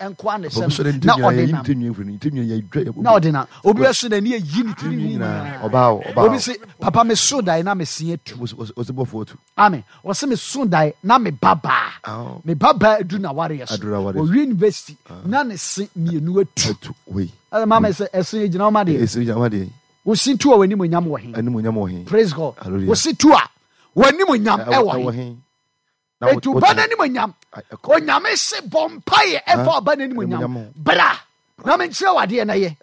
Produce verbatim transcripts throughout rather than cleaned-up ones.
Nkoa ne sɛm na ɔde nam na ɔde nam. Obi bɛso n'ani ayi ne tiri nyinaa. Obi se, "Papa, me so dae na me se atu." Amen. Ɔse, "Me so dae na me ba baa me ba baa adu na wareɛ so ɔwie university na ne se mmienu atu." Ɛsɛ maame sɛ ɛse gyina ɔma deɛ wosi tu a w'anim onyam wɔ he? Praise God. Wosi tu a w'anim onyam ɛwɔ he? Etu ba n'anim onyam. Onyame se bɔ mpaeɛ ɛfa ɔba n'anim onyam. Bra na menkyerɛ wo adeɛ na yɛ.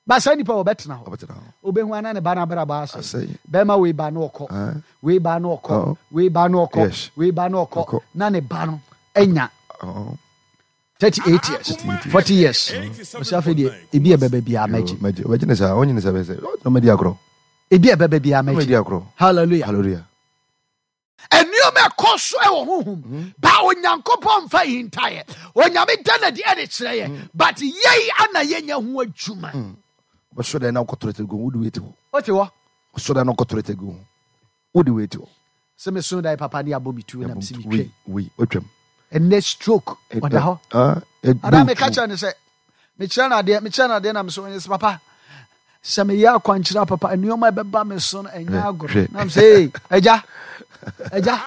Ba saa nipa wɔbɛtena hɔ. Wobɛhu ana ne ba no abrabɔ asɛ. Bɛrima wei ba no ɔkɔ. Wei ba no ɔkɔ. Wei ba no ɔkɔ. Wei ba no ɔkɔ. Na ne ba no anya thirty eight years, forty years. Ɔsɛ afei deɛ ebi ɛbɛbɛ biara mɛgye. Ɔbɛgye ne saa, ɔnye ne saa bɛsɛ. Ɔmɛdi agorɔ. Ebi ɛbɛbɛ biara mɛgye. Hallelujah. Hallelujah. Nneɛma ɛkɔ so ɛwɔ honhom mm. ba Onyankopɔn mfa hintaeɛ. Onyame da no adi ɛde kyerɛ yɛ mm. but yɛi ana yɛnya ho adwuma. Ɔbɛsɔ dɛ na wokɔtɔrɔ tɛ gu wode wei te hɔ. Wote hɔ. Ɔsɔ dɛ na wokɔtɔrɔ tɛ gu wode wei te hɔ. Sɛ meso dae, papa, ne abɔ me tuo na mesi metwam. Wei otwam. Ɛnɛ stroke ɔda hɔ. Ada meka kyerɛ no sɛ mekyerɛ no adeɛ mekyerɛ no adeɛ na mesɛ ɔnyɛ sɛ, "Papa, sɛ meyɛ akwankyerɛ, papa, nneɛma ɛbɛba me so no ɛnyɛ agorɔ." Na mesɛ, "Ee, agya, agya,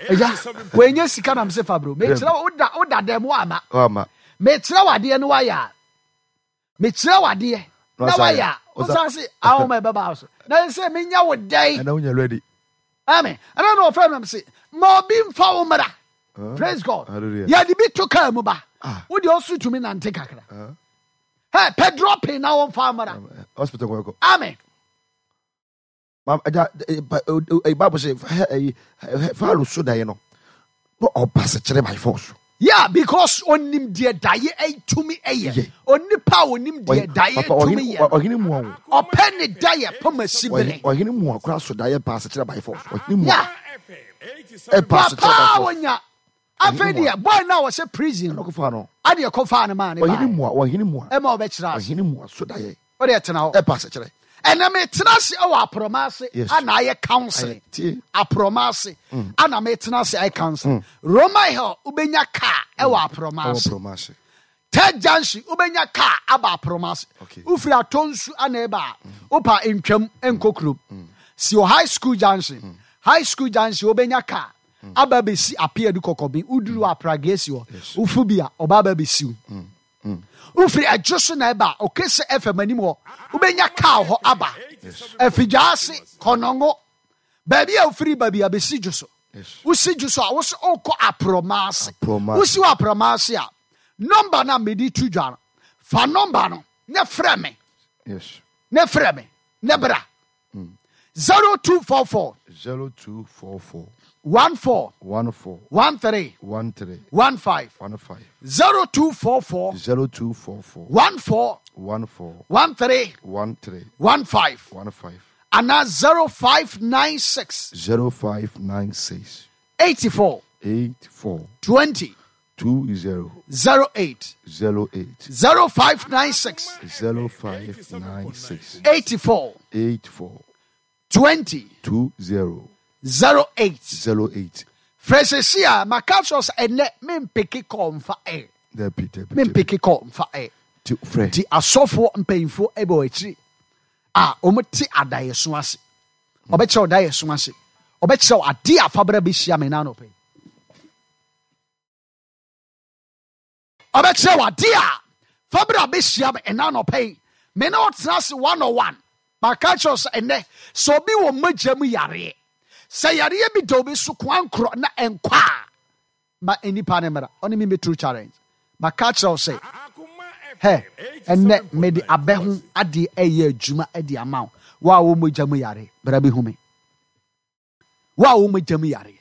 agya, wɔnyɛ sika." Na mesɛ, "Fa bro, mekyerɛ wo, woda woda dɛm woama mekyerɛ wo adeɛ no wayɛ a, mekyerɛ wo adeɛ na wayɛ a, wosan se ahoma ɛbɛba wo so na sɛ menya wo dɛn?" Ɛna wonya ready. Amen. Ɛna na ɔfrɛ no sɛ ma obi mfa wo mmra. Praise God. Yɛde bi to kaa mu ba, wode ɔso tumi nante kakra. Hey, pɛ dropping na wɔmfa mmra. Hospital kɔ. Amen. Agya, Bible sɛ Pharaoh so daeɛ no na ɔba sekyerɛ by force. Yeah, because onim deɛ daeɛ tumi ɛyɛ. Onipa a onim deɛ daeɛ tumi yɛ. Ɔhene mu a ɔpɛ ne daeɛ pɔm asi bere. Ɔhene mu a kora so daeɛ pa asekyerɛ by force. Ɔhene mu a ɛpa asekyerɛ by force. Onya afei deɛ boy na wɔhyɛ prison no kɔfa no. Adeɛ kɔfa no maa ne ba. Ɔhene mu a, ɔhene mu a. Ɛma ɔbɛkyerɛ ase. Ɔhene mu a so daeɛ. Ɔde ɛtena hɔ. Ɛpa asekyerɛ. Ɛnna metena ase ɛwɔ aprɔma ase ana ayɛ counseling. Aprɔma ase ana metena ase ayɛ counseling. Roma Hill, wobɛnya car ɛwɔ aprɔma ase. Third Junction, wobɛnya car aba aprɔma ase. Wofiri Atɔnsu ana ɛba a, wopa ntwam nkɔ kurom si wɔ High School Junction. High School Junction, wobɛnya car aba bɛsi Apeadu Kɔkɔben. Woduru Apragea si hɔ, wofu bi a ɔba aba bɛsiw. Wofiri Ɛdwo so na ɛba a, ɔkɛ sɛ F M anim hɔ, wobɛnya car hɔ aba Afidwa ase Kɔnɔngo. Baabi a wofiri ba bi a, bɛsi dwo so. Wosi dwo so a, wo sɛ wokɔ aprɔma ase. Wosi wɔ aprɔma ase a, nɔmba no a mede to dwa no, fa nɔmba no ne frɛ me ne frɛ me ne bra. Zero two four four zero two four four one four one four one three one three one five. one five. zero two four four zero two four four one four one four one three one three one five. one five. Anaa zero five nine six zero five nine six eighty-four eight four twenty two zero zero eight. Zero eight. zero five nine six zero five nine six eighty-four eight four twenty two zero zero eight. Zero eight. Frɛ sɛsi a maka kyerɛ sɛ ɛnɛ mempeke kɔɔ mfa ɛ. Dabi, dabi. Mempeke kɔɔ mfa ɛ. Ti frɛ. Nti asɔfoɔ mpanyimfoɔ ɛbɛ wɔ akyiri a wɔte adaeɛso ase. Ɔbɛkyerɛ wo daeɛso ase, ɔbɛkyerɛ wo adeɛ a fabra bɛhyia me na anɔpɛ yi. Ɔbɛkyerɛ wo adeɛ a fabra bɛhyia me ɛna anɔpɛ yi. Me ne ɔtena ase one on one. Maka kyerɛ wo sɛ ɛnɛ sɛ obi wɔ mogya mu yareɛ, sɛ yareɛ bi da obi so koankorɔ na ɛnkɔ a, ma nnipa no mmra ɔne me mɛturu challenge. Maka kyerɛ wo sɛ hɛ ɛnɛ mede abɛ ho adeɛ ɛyɛ adwuma de ama wo. Wo a wɔ mogya mu yare, bra bɛhu me. Wo a wɔ mogya mu yare,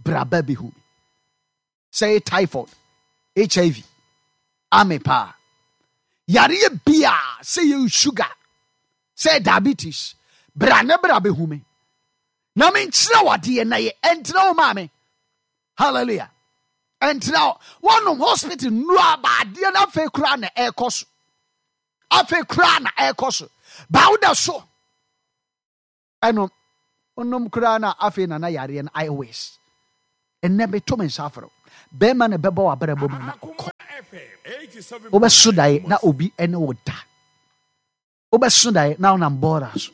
bra ba bɛhu me. Sɛ ɛyɛ typhoid, H I V, ame paa yareɛ bia, sɛ yɛ sugar, sɛ yɛ diabetes, bra ne bra bɛhu me na menkyerɛ wo adeɛ na yɛ ɛntena wo maame. Hallelujah. Ɛntena wo wɔnom hospital nnuro aba adeɛ no afei koraa na ɛrekɔ so, afei koraa na ɛrekɔ so ba wo da so ɛnom wonom koraa na afei nana yareɛ no ayɛ worse. Ɛnɛ meto me nsa afrɛ wo, bɛrima na ɛbɛbɔ w'abrabɔ mu na ɔkɔ. Wobɛso daeɛ na obi ne wo da. Wobɛso daeɛ na wonam bɔɔla so.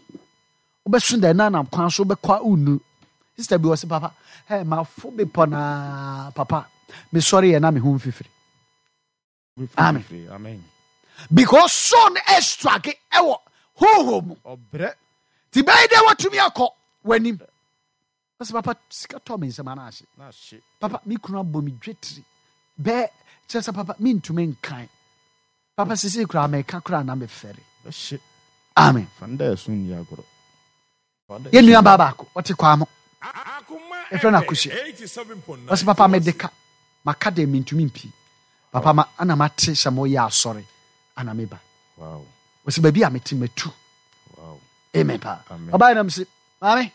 Wobɛso daeɛ na wonam kwan so wobɛkɔ a wonnuru. Sister bi wɔ se papa, hey, mafo bepɔ naa papa. Mesɔre yɛ na me ho mfifiri. Amen. Amen. Because so no ɛstrage ɛwɔ honhom mu. Ɔbrɛ. Nti bɛyɛ dɛ watumi akɔ w'anim. Ɔsɛ papa sika tɔ me nsɛm ana ahye. Na ahye. Papa me kunu abɔ me dwetiri. Bɛɛ kyerɛ sɛ papa mentumi nkan. Papa sisi koraa mɛka koraa na mefɛre. Bɛhye. Amen. Fa nda ɛso nni agorɔ. Fa nda Yɛn ɛso nua nni baa baako ɔte kwaa mo. Ɛfrɛ Ɛfrɛ no Akosua. Ɔsɛ papa mede ka. Maka deɛ mentumi mpii. Papa ma ana mate sɛ moyɛ asɔre ana meba. Wow. Ɔsɛ baabi a mete matu. Wow. Amen paa. Amen. Ɔbaa nam se maame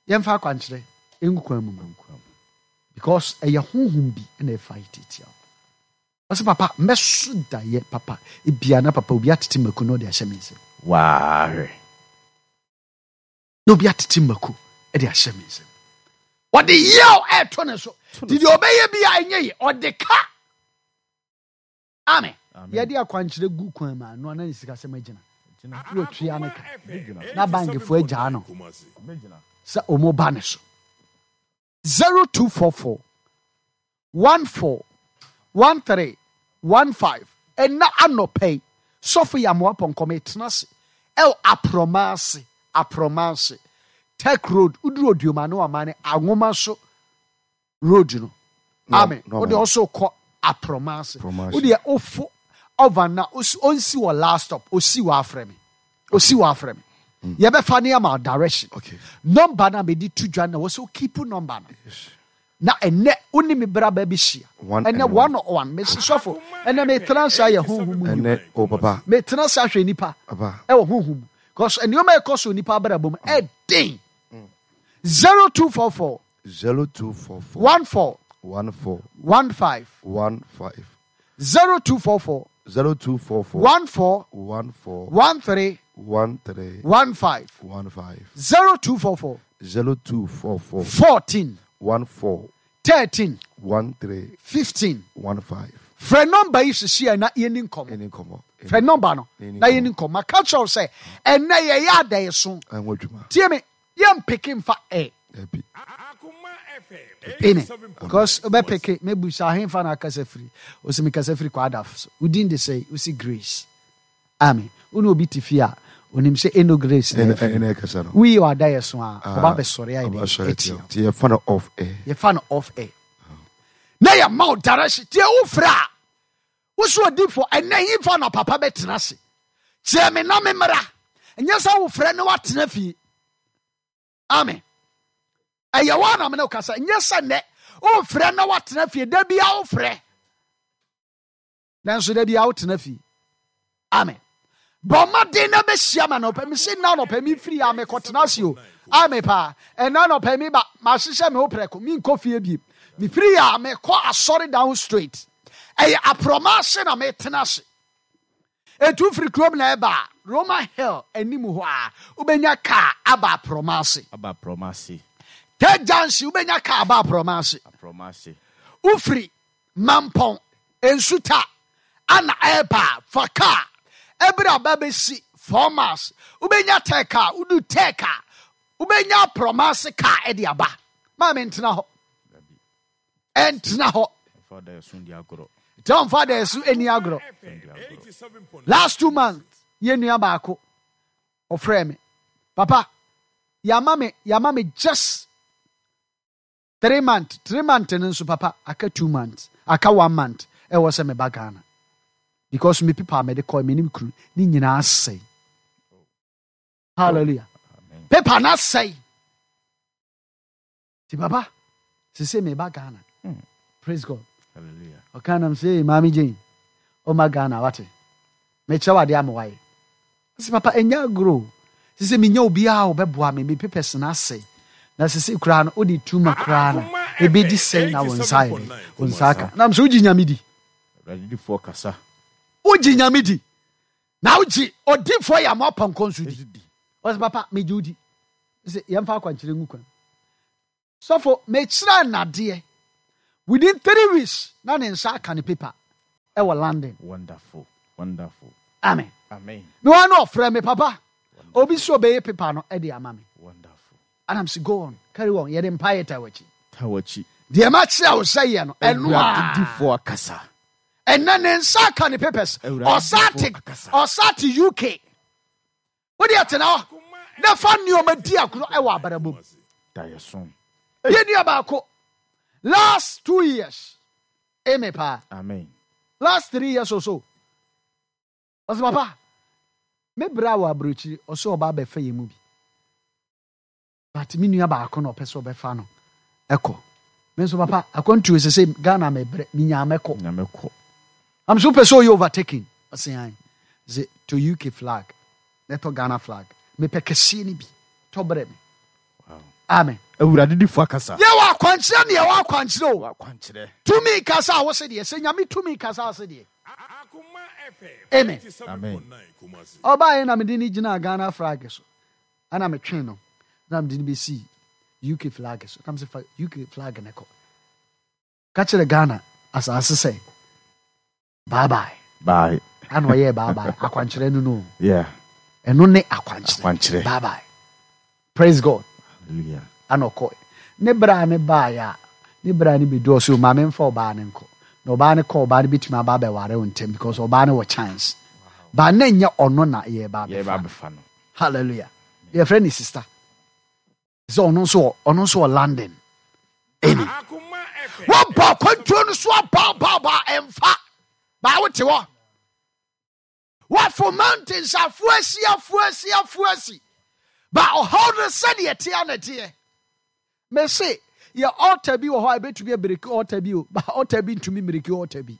yɛmfa akwankyerɛ ngu kwan mu ma. Because ɛyɛ honhom bi na ɛfa yi tiatia wo. Ɔsɛ papa mɛso daeɛ papa ebia na papa obi atete mako na ɔde ahyɛ me nsam. Waahwɛ. Na obi atete mako de ahyɛ me nsam. Ɔde yaw ɛɛto ne so. Nti deɛ ɔbɛyɛ bi a ɛnyɛ yie ɔde ka. Amen. Amen. Yɛde akwankyerɛ gu kwan mu a no ana ne sikasɛm agyina. Gyina. Na watua ne ka. Bɛgyina. Na bankfoɔ agyaa no Bɛgyina. sɛ ɔmo ba ne so. zero two four four one four one three one five ɛna anɔpɛ yi sɔfo yɛ amoa pɔnkɔ metena ase ɛwɔ aprɔma ase aprɔma ase Tech Road woduru Odioma ne wama ne anwoma so road no. No, Amen. no, Wode man. ɔso kɔ aprɔma ase. Aprɔma ase. Wode ofo ɔvan na osi onsi wɔ last stop osi wɔ afrɛ me. Osi wɔ afrɛ me. Yɛbɛfa ne ama direction. Okay. Number na mede to dwa na wɔ sɛ keep number no. Na ɛnɛ wo ne me bra ba bi hyia. One Ɛnɛ and one on one mesi sɔfo ɛnɛ metena ase ayɛ honhom mu nnwuma. Ɛnɛ o papa. Metena ase ahwɛ nipa Papa. ɛwɔ honhom mu. Because nneɛma a ɛkɔ so nipa abrabɔ mu ɛden. Zero two four four Zero two four four one four one four one five one five zero two four four zero two four four one four one four one three one three one five one five zero two four four zero two four four fourteen one four thirteen one three fifteen. one five. Frɛ number yi sisi a na yɛni nkɔmɔ. Any nkɔmɔ. Frɛ number no Yɛni na yɛni nkɔmɔ. Maka kyerɛw sɛ ɛnɛ yɛyɛ adɛɛso. Ɛnwɔ adwuma. Tie me yɛmpeke mfa ɛ. Ɛbi. Amen. Because wobɛpeke mebusa ahemfa na akasa firi. Ɔsɛ mekasa firi kwadaf so. Wodin de sɛ wosi Grace. Amen. Wo ne obi te fie a onim sɛ ɛno Grace na Ɛnɛ ɛfiri. ɛnɛ ɛkasa no. Woyi ɔadayɛ so a ɔba bɛsɔre ayɛ Ɔba dɛ sɔre atia. atia. Ti yɛfa no off air. Yɛfa no off air. Na yɛma wo direction. Tie wofrɛ a wo so odifoɔ ɛnɛ hemfa na papa bɛtena ase. Kyerɛ me na me mmara. Ɛnyɛ sɛ wofrɛ ne woatena fie. Amen. Ɛyɛ wo anam ne wo kasa. Ɛnyɛ sɛ nnɛ wofrɛ na woatena fie. Da bia wofrɛ. Nanso da bia wotena fie. Amen. Bɔ mmɔden na bɛhyia ma nɔpɛ. Mese nna nɔpɛ mefiri a mekɔtena ase o. Amen paa. Ɛnna nɔpɛ mi ba mahyehyɛ me ho prɛko. Menkɔ fie biem. Mefiri a mekɔ asɔre down straight. Ɛyɛ aprɔma ase na metena ase. Etu firi kurom na ɛba a, Roma Hill anim hɔ a wobɛnya kaa aba aprɔma ase. Aba aprɔma ase. Third Junction wobɛnya kaa aba aprɔma ase. Aprɔma ase. Wofiri Mampɔn nsuta ana ɛba a, fa kaa ɛbere aba bɛsi four miles wobɛnya tɛ kaa wodu tɛ kaa wobɛnya aprɔma ase kaa ɛde aba. Maame ntena hɔ. Ɛntena hɔ. Ɛfa da ɛso ndi agorɔ. Nti ɔmfa da ɛso ani agorɔ. Last two months yɛn nua baako ɔfrɛ me papa yama me yama me just three months three months no nso papa aka two months aka one month ɛwɔ sɛ meba Ghana because me pepa a mede kɔ me ne kunu ne nyinaa asɛe. Hallelujah. Amen. Pepa na asɛe. Ti papa sese meba Ghana. Praise God. Hallelujah. Ɔka nam sɛ maame Jane ɔma Ghana wate mekyerɛ wade ama wayɛ. Sɛ papa ɛnyɛ agorɔ o. Sɛ sɛ menya obiara a ɔbɛboa me me papers na asɛe. Na sɛ sɛ koraa no wode tuma koraa no ɛbɛdi sɛe na wo nsa ayɛ dɛ wo nsa aka. Nam sɛ wogye Nyame di. Awurade difoɔ kasa. Wogye Nyame di. Na wogye odifoɔ yɛ ama ɔpɔnkɔ nso di. Di. Ɔsɛ papa megye wo di. Sɛ yɛmfa akwankyerɛ ngu kwan. Sɔfo mekyerɛ nnadeɛ. Within three weeks na ne nsa aka ne paper. ɛwɔ London. Wonderful. Wonderful. Amen. Amen. Mewɔ na ɔfrɛ me, papa, obi sɛ ɔbɛyɛ paper no ɛde ama me. Wonderful. Anam sɛ go on, carry on, yɛde mpaeɛ ta w'akyi. Ta w'akyi. Deɛ makyerɛ wo sɛ yɛ no, ɛno Awurade a difoɔ akasa. Ɛnɛ ne nsa aka ne papers. Awurade Ɔsa te difoɔ akasa. Ɔsa te U K. Wode ɛtena hɔ na fa nneɔma di agorɔ ɛwɔ abrabɔ mu. Da yɛ so. Yɛnua baako, last two years eme paa. Amen. Last three years or so, ɔsɛ, "Papa, me berɛ a wɔ aburokyiri." Ɔsɛ ɔba abɛfa yɛ mu bi, but me nua baako na ɔpɛ sɛ ɔbɛfa no ɛkɔ. Me nso, papa, akwantuo sɛ sɛ Ghana mebrɛ menyaa mɛkɔ. Nyame kɔ. Am so wopɛ sɛ ɔyɛ overtaking? Ɔsɛ an sɛ to U K flag na ɛtɔ Ghana flag, mepɛ kɛseɛ no bi, tɔ brɛ me. Wow. Amen. Awurade difoɔ akasa. Yɛwɔ akwankyerɛ ne yɛwɔ akwankyerɛ o. Wakwankyerɛ. Tumi kasa a wo se deɛ sɛ Nyame tumi kasa a wo se deɛ. Amen. Amen. Ɔbaeɛ na mede ne gyina Ghana flag so, ana metwe no na mede no bɛsii U K flag so, na mesɛ fa U K flag ne kɔ ka kyerɛ Ghana asase sɛ bye bye. Bye. Ana ɔyɛɛ bye bye. Akwankyerɛ no no. Yeah. Ɛno ne akwankyerɛ. Akwankyerɛ. Bye bye, praise God. Hallelujah. Ana ɔkɔɛ ne berɛ a ne baeɛ a ne berɛ a ne bɛdu, ɔsɛ maame mfa ɔbaa ne nkɔ, na ɔbaa ne kɔ, ɔbaa no bɛtumi aba abɛware wo ntɛm because ɔbaa no wɔ chance baa na nyɛ ɔno na yɛba Yɛba abɛfa. abɛfa no. Hallelujah. Yɛfrɛ ne sister sɛ ɔno nso wɔ ɔno nso wɔ London. Amen. Wɔbɔ akwantuo no so abaababa, ɛmfa baa wote hɔ, wafo mountains, afo asi, afo asi, afo asi ba ɔhaw no sɛdeɛ teɛ na teɛ. Mese yɛ altar bi wɔ hɔ a ɛbɛtumi abreak altar bi o, ba altar bi ntumi mmreak altar bi.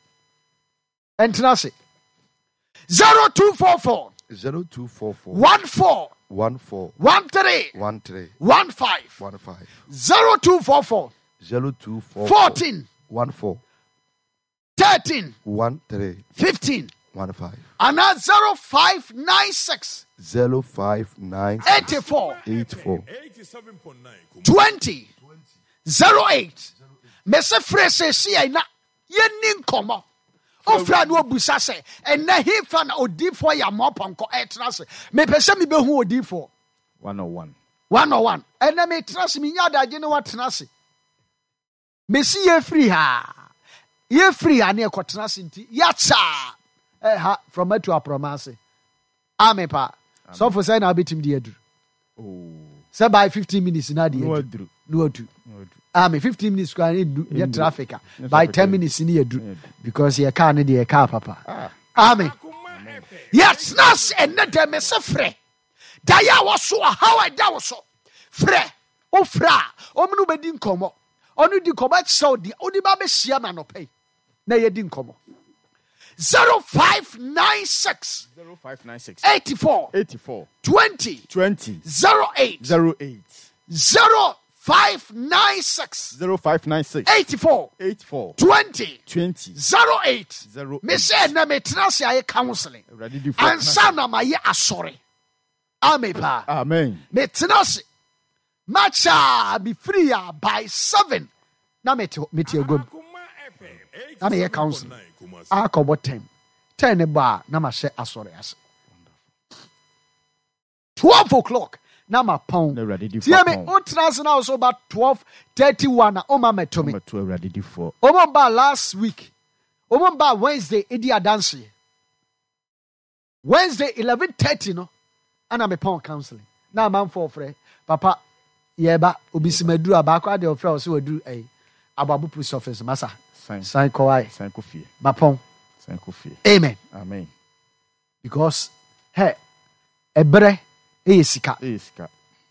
Ɛntena ase, zero two four four zero two four four one four one four one three one three one five one five zero two four four zero two four four fourteen one four thirteen one three fifteen one five anaa zero five nine six zero five nine eighty-four eight four twenty zero eight. Mese frɛ sɛsiai na yɛnni nkɔmmɔ. Wofrɛ a ne wabusa sɛ ɛnɛ hefa na odiifoɔ yɛ amoa pɔnkɔ ɛtena ase? Mepɛ sɛ mebɛhu odiifoɔ. One on one. One on one. Ɛnɛ metena ase, menya adagye ne watena ase. Mesi yɛfiri ha, yɛfiri ha ne yɛkɔtena ase, nti yɛakyaa ɛha from atu aprɔma ase. Ame paa, sɔfo, sɛ na wobɛtumi de aduru Oh. sɛ by fifteen minutes na de No aduru. aduru. Na wadu. No aduru. Ame fifteen minutes koraa ne ndu nyɛ Ndu. traffic a Nyɛ by traffic ten a. minutes ne yɛdu Yɛdu. because yɛ car ne deɛ yɛ car papa. Ah. Amen. Yɛtena ase ɛnnɛ dɛ. Mese frɛ daeɛ a wɔso ɔhaw a ɛda wo so, frɛ. Wofrɛ a, ɔmo ne wobɛdi nkɔmmɔ, ɔno di nkɔmmɔ akyerɛ wo deɛ wode ba bɛhyia ma anɔpa yi na yɛdi nkɔmmɔ. zero five nine six zero five nine six eighty-four eighty-four twenty twenty zero eight zero eight zero five nine six zero five nine six eighty-four eighty-four twenty twenty zero eight. zero eight. Mesɛ ɛnɛ metena ase ayɛ counseling Awurade difoɔ ansa na mayɛ asɔre. Ame paa. Amen. Metena ase makyaa, mefiri a by seven na mete mete agua mu na meyɛ counseling akɔbɔ ten ten ne bɔ a na mahyɛ asɔre ase twelve o'clock na mapɔn. Na Awurade difoɔ Tie me. apɔn. Wotena ase na wo so ba twelve thirty one a, woma mɛto me. Mɛto Awurade difoɔ. Ɔmo ba last week, ɔmo ba Wednesday edi adanseɛ. Wednesday eleven thirty no ana mepɔn counseling na amanfoɔ frɛ, "Papa, yɛba." Obi si maduru a baako adeɛ ɔfrɛ ɔsɛ waduru ɛyi Aboabo post office masa. San. San kɔwae. San kɔ fie. Mapɔn. San kɔ fie. Amen. Amen. Because hɛ ɛbrɛ ɛyɛ sika. Ɛyɛ sika.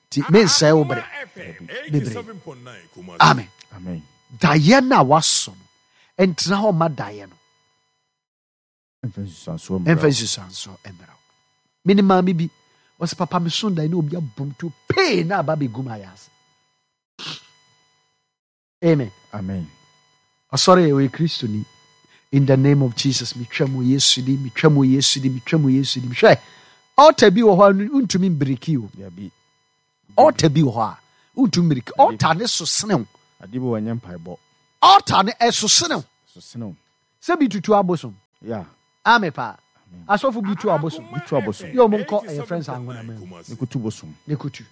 Ti mensɛe wo berɛ bebree. Amen. Amen. Daeɛ no a wasɔ no, ɛntena hɔ ma daeɛ no ɛmfa nsusuansoɔ mmra ɛmfa wo. nsusuansoɔ mmra wo. Mene maame bi wɔsɛ, "Papa, meso daeɛ ne obi abom to pee na aba bɛgu m ayɛ ase." Amen. Amen. Ɔsɔre yɛ ɔyɛ Kristoni. In the name of Jesus, metwa mu Yesu di, metwa mu Yesu di, metwa mu Yesu di. Hwɛ, altar bi wɔ hɔ a wontumi mbreak o. Dabi. Altar bi wɔ hɔ a wontumi mbreak. Altar ne so senew. Ade bi wɔnyɛ mpaebɔ. Altar ne ɛso senew. So senew. Sɛ bi tutu abosom. Yeah. Ame paa. Asɔfo bi tu abosom. Bi tu abosom. Yɛ ɔmo nkɔ ɛyɛ friends anwona mu. Ne kutu bosom. Ne kutu.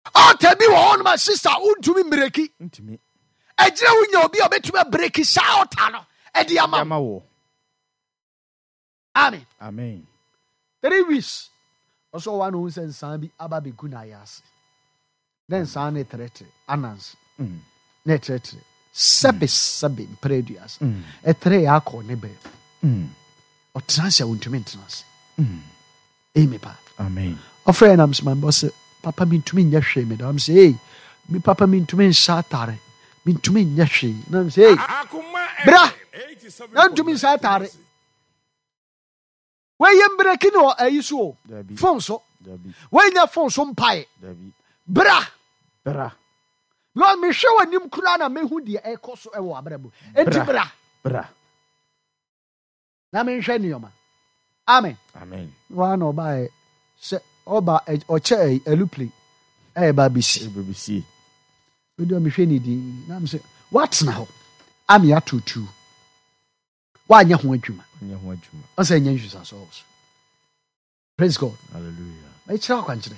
Ɔta bi wɔ hɔ nom a sister wontumi mmireki. Ntumi. Ɛgyina wonya obi a ɔbɛtumi abireki saa ɔta no ɛde ama wo. Ama wo. Amen. Amen. Three weeks. Ɔsɔ wa na ohun sɛ nsan bi aba abɛgu n'ayɛ ase. Ne nsan ne trɛtrɛ anansi. Mm. Ne trɛtrɛ. Sɛbe sɛbe mpere aduasa. Mm. Ɛtrɛ yɛ akɔ ne bɛɛ. Mm. Ɔtena ase a wontumi ntena ase. Mm. Ɛyi paa. Amen. Ɔfrɛ yɛn nam sɛ maame ɔsɛ papa mintumi nyɛ hwee mi da ɔm sɛ ee mi papa mintumi nhyɛ atare mintumi nyɛ hwee nam sɛ ee bra na ntumi nhyɛ atare wɔyɛ mbreki ne wɔ ayi so o Dabi. phone so Dabi. wɔnyɛ phone so mpae Dabi. bra Bra. na mehwɛ wɔ anim koraa na mehu deɛ ɛkɔ so ɛwɔ abrɛ mu enti Bra. bra Bra. na menhwɛ nneɛma amen. Amen. Wɔn na ɔbaeɛ sɛ ɔba ɛ- ɔkyɛ ɛyi alupli ɛyɛ ba abɛsi. Ebebisi. Mede mehwɛ ne din na mesɛ woatena hɔ ame atotu woanyɛ ho adwuma. Ɔnyɛ ho adwuma. Ɔsɛ ɛnyɛ nsusuasoɔ wɔ so. Praise God. Hallelujah. Mɛkyerɛ akwankyerɛ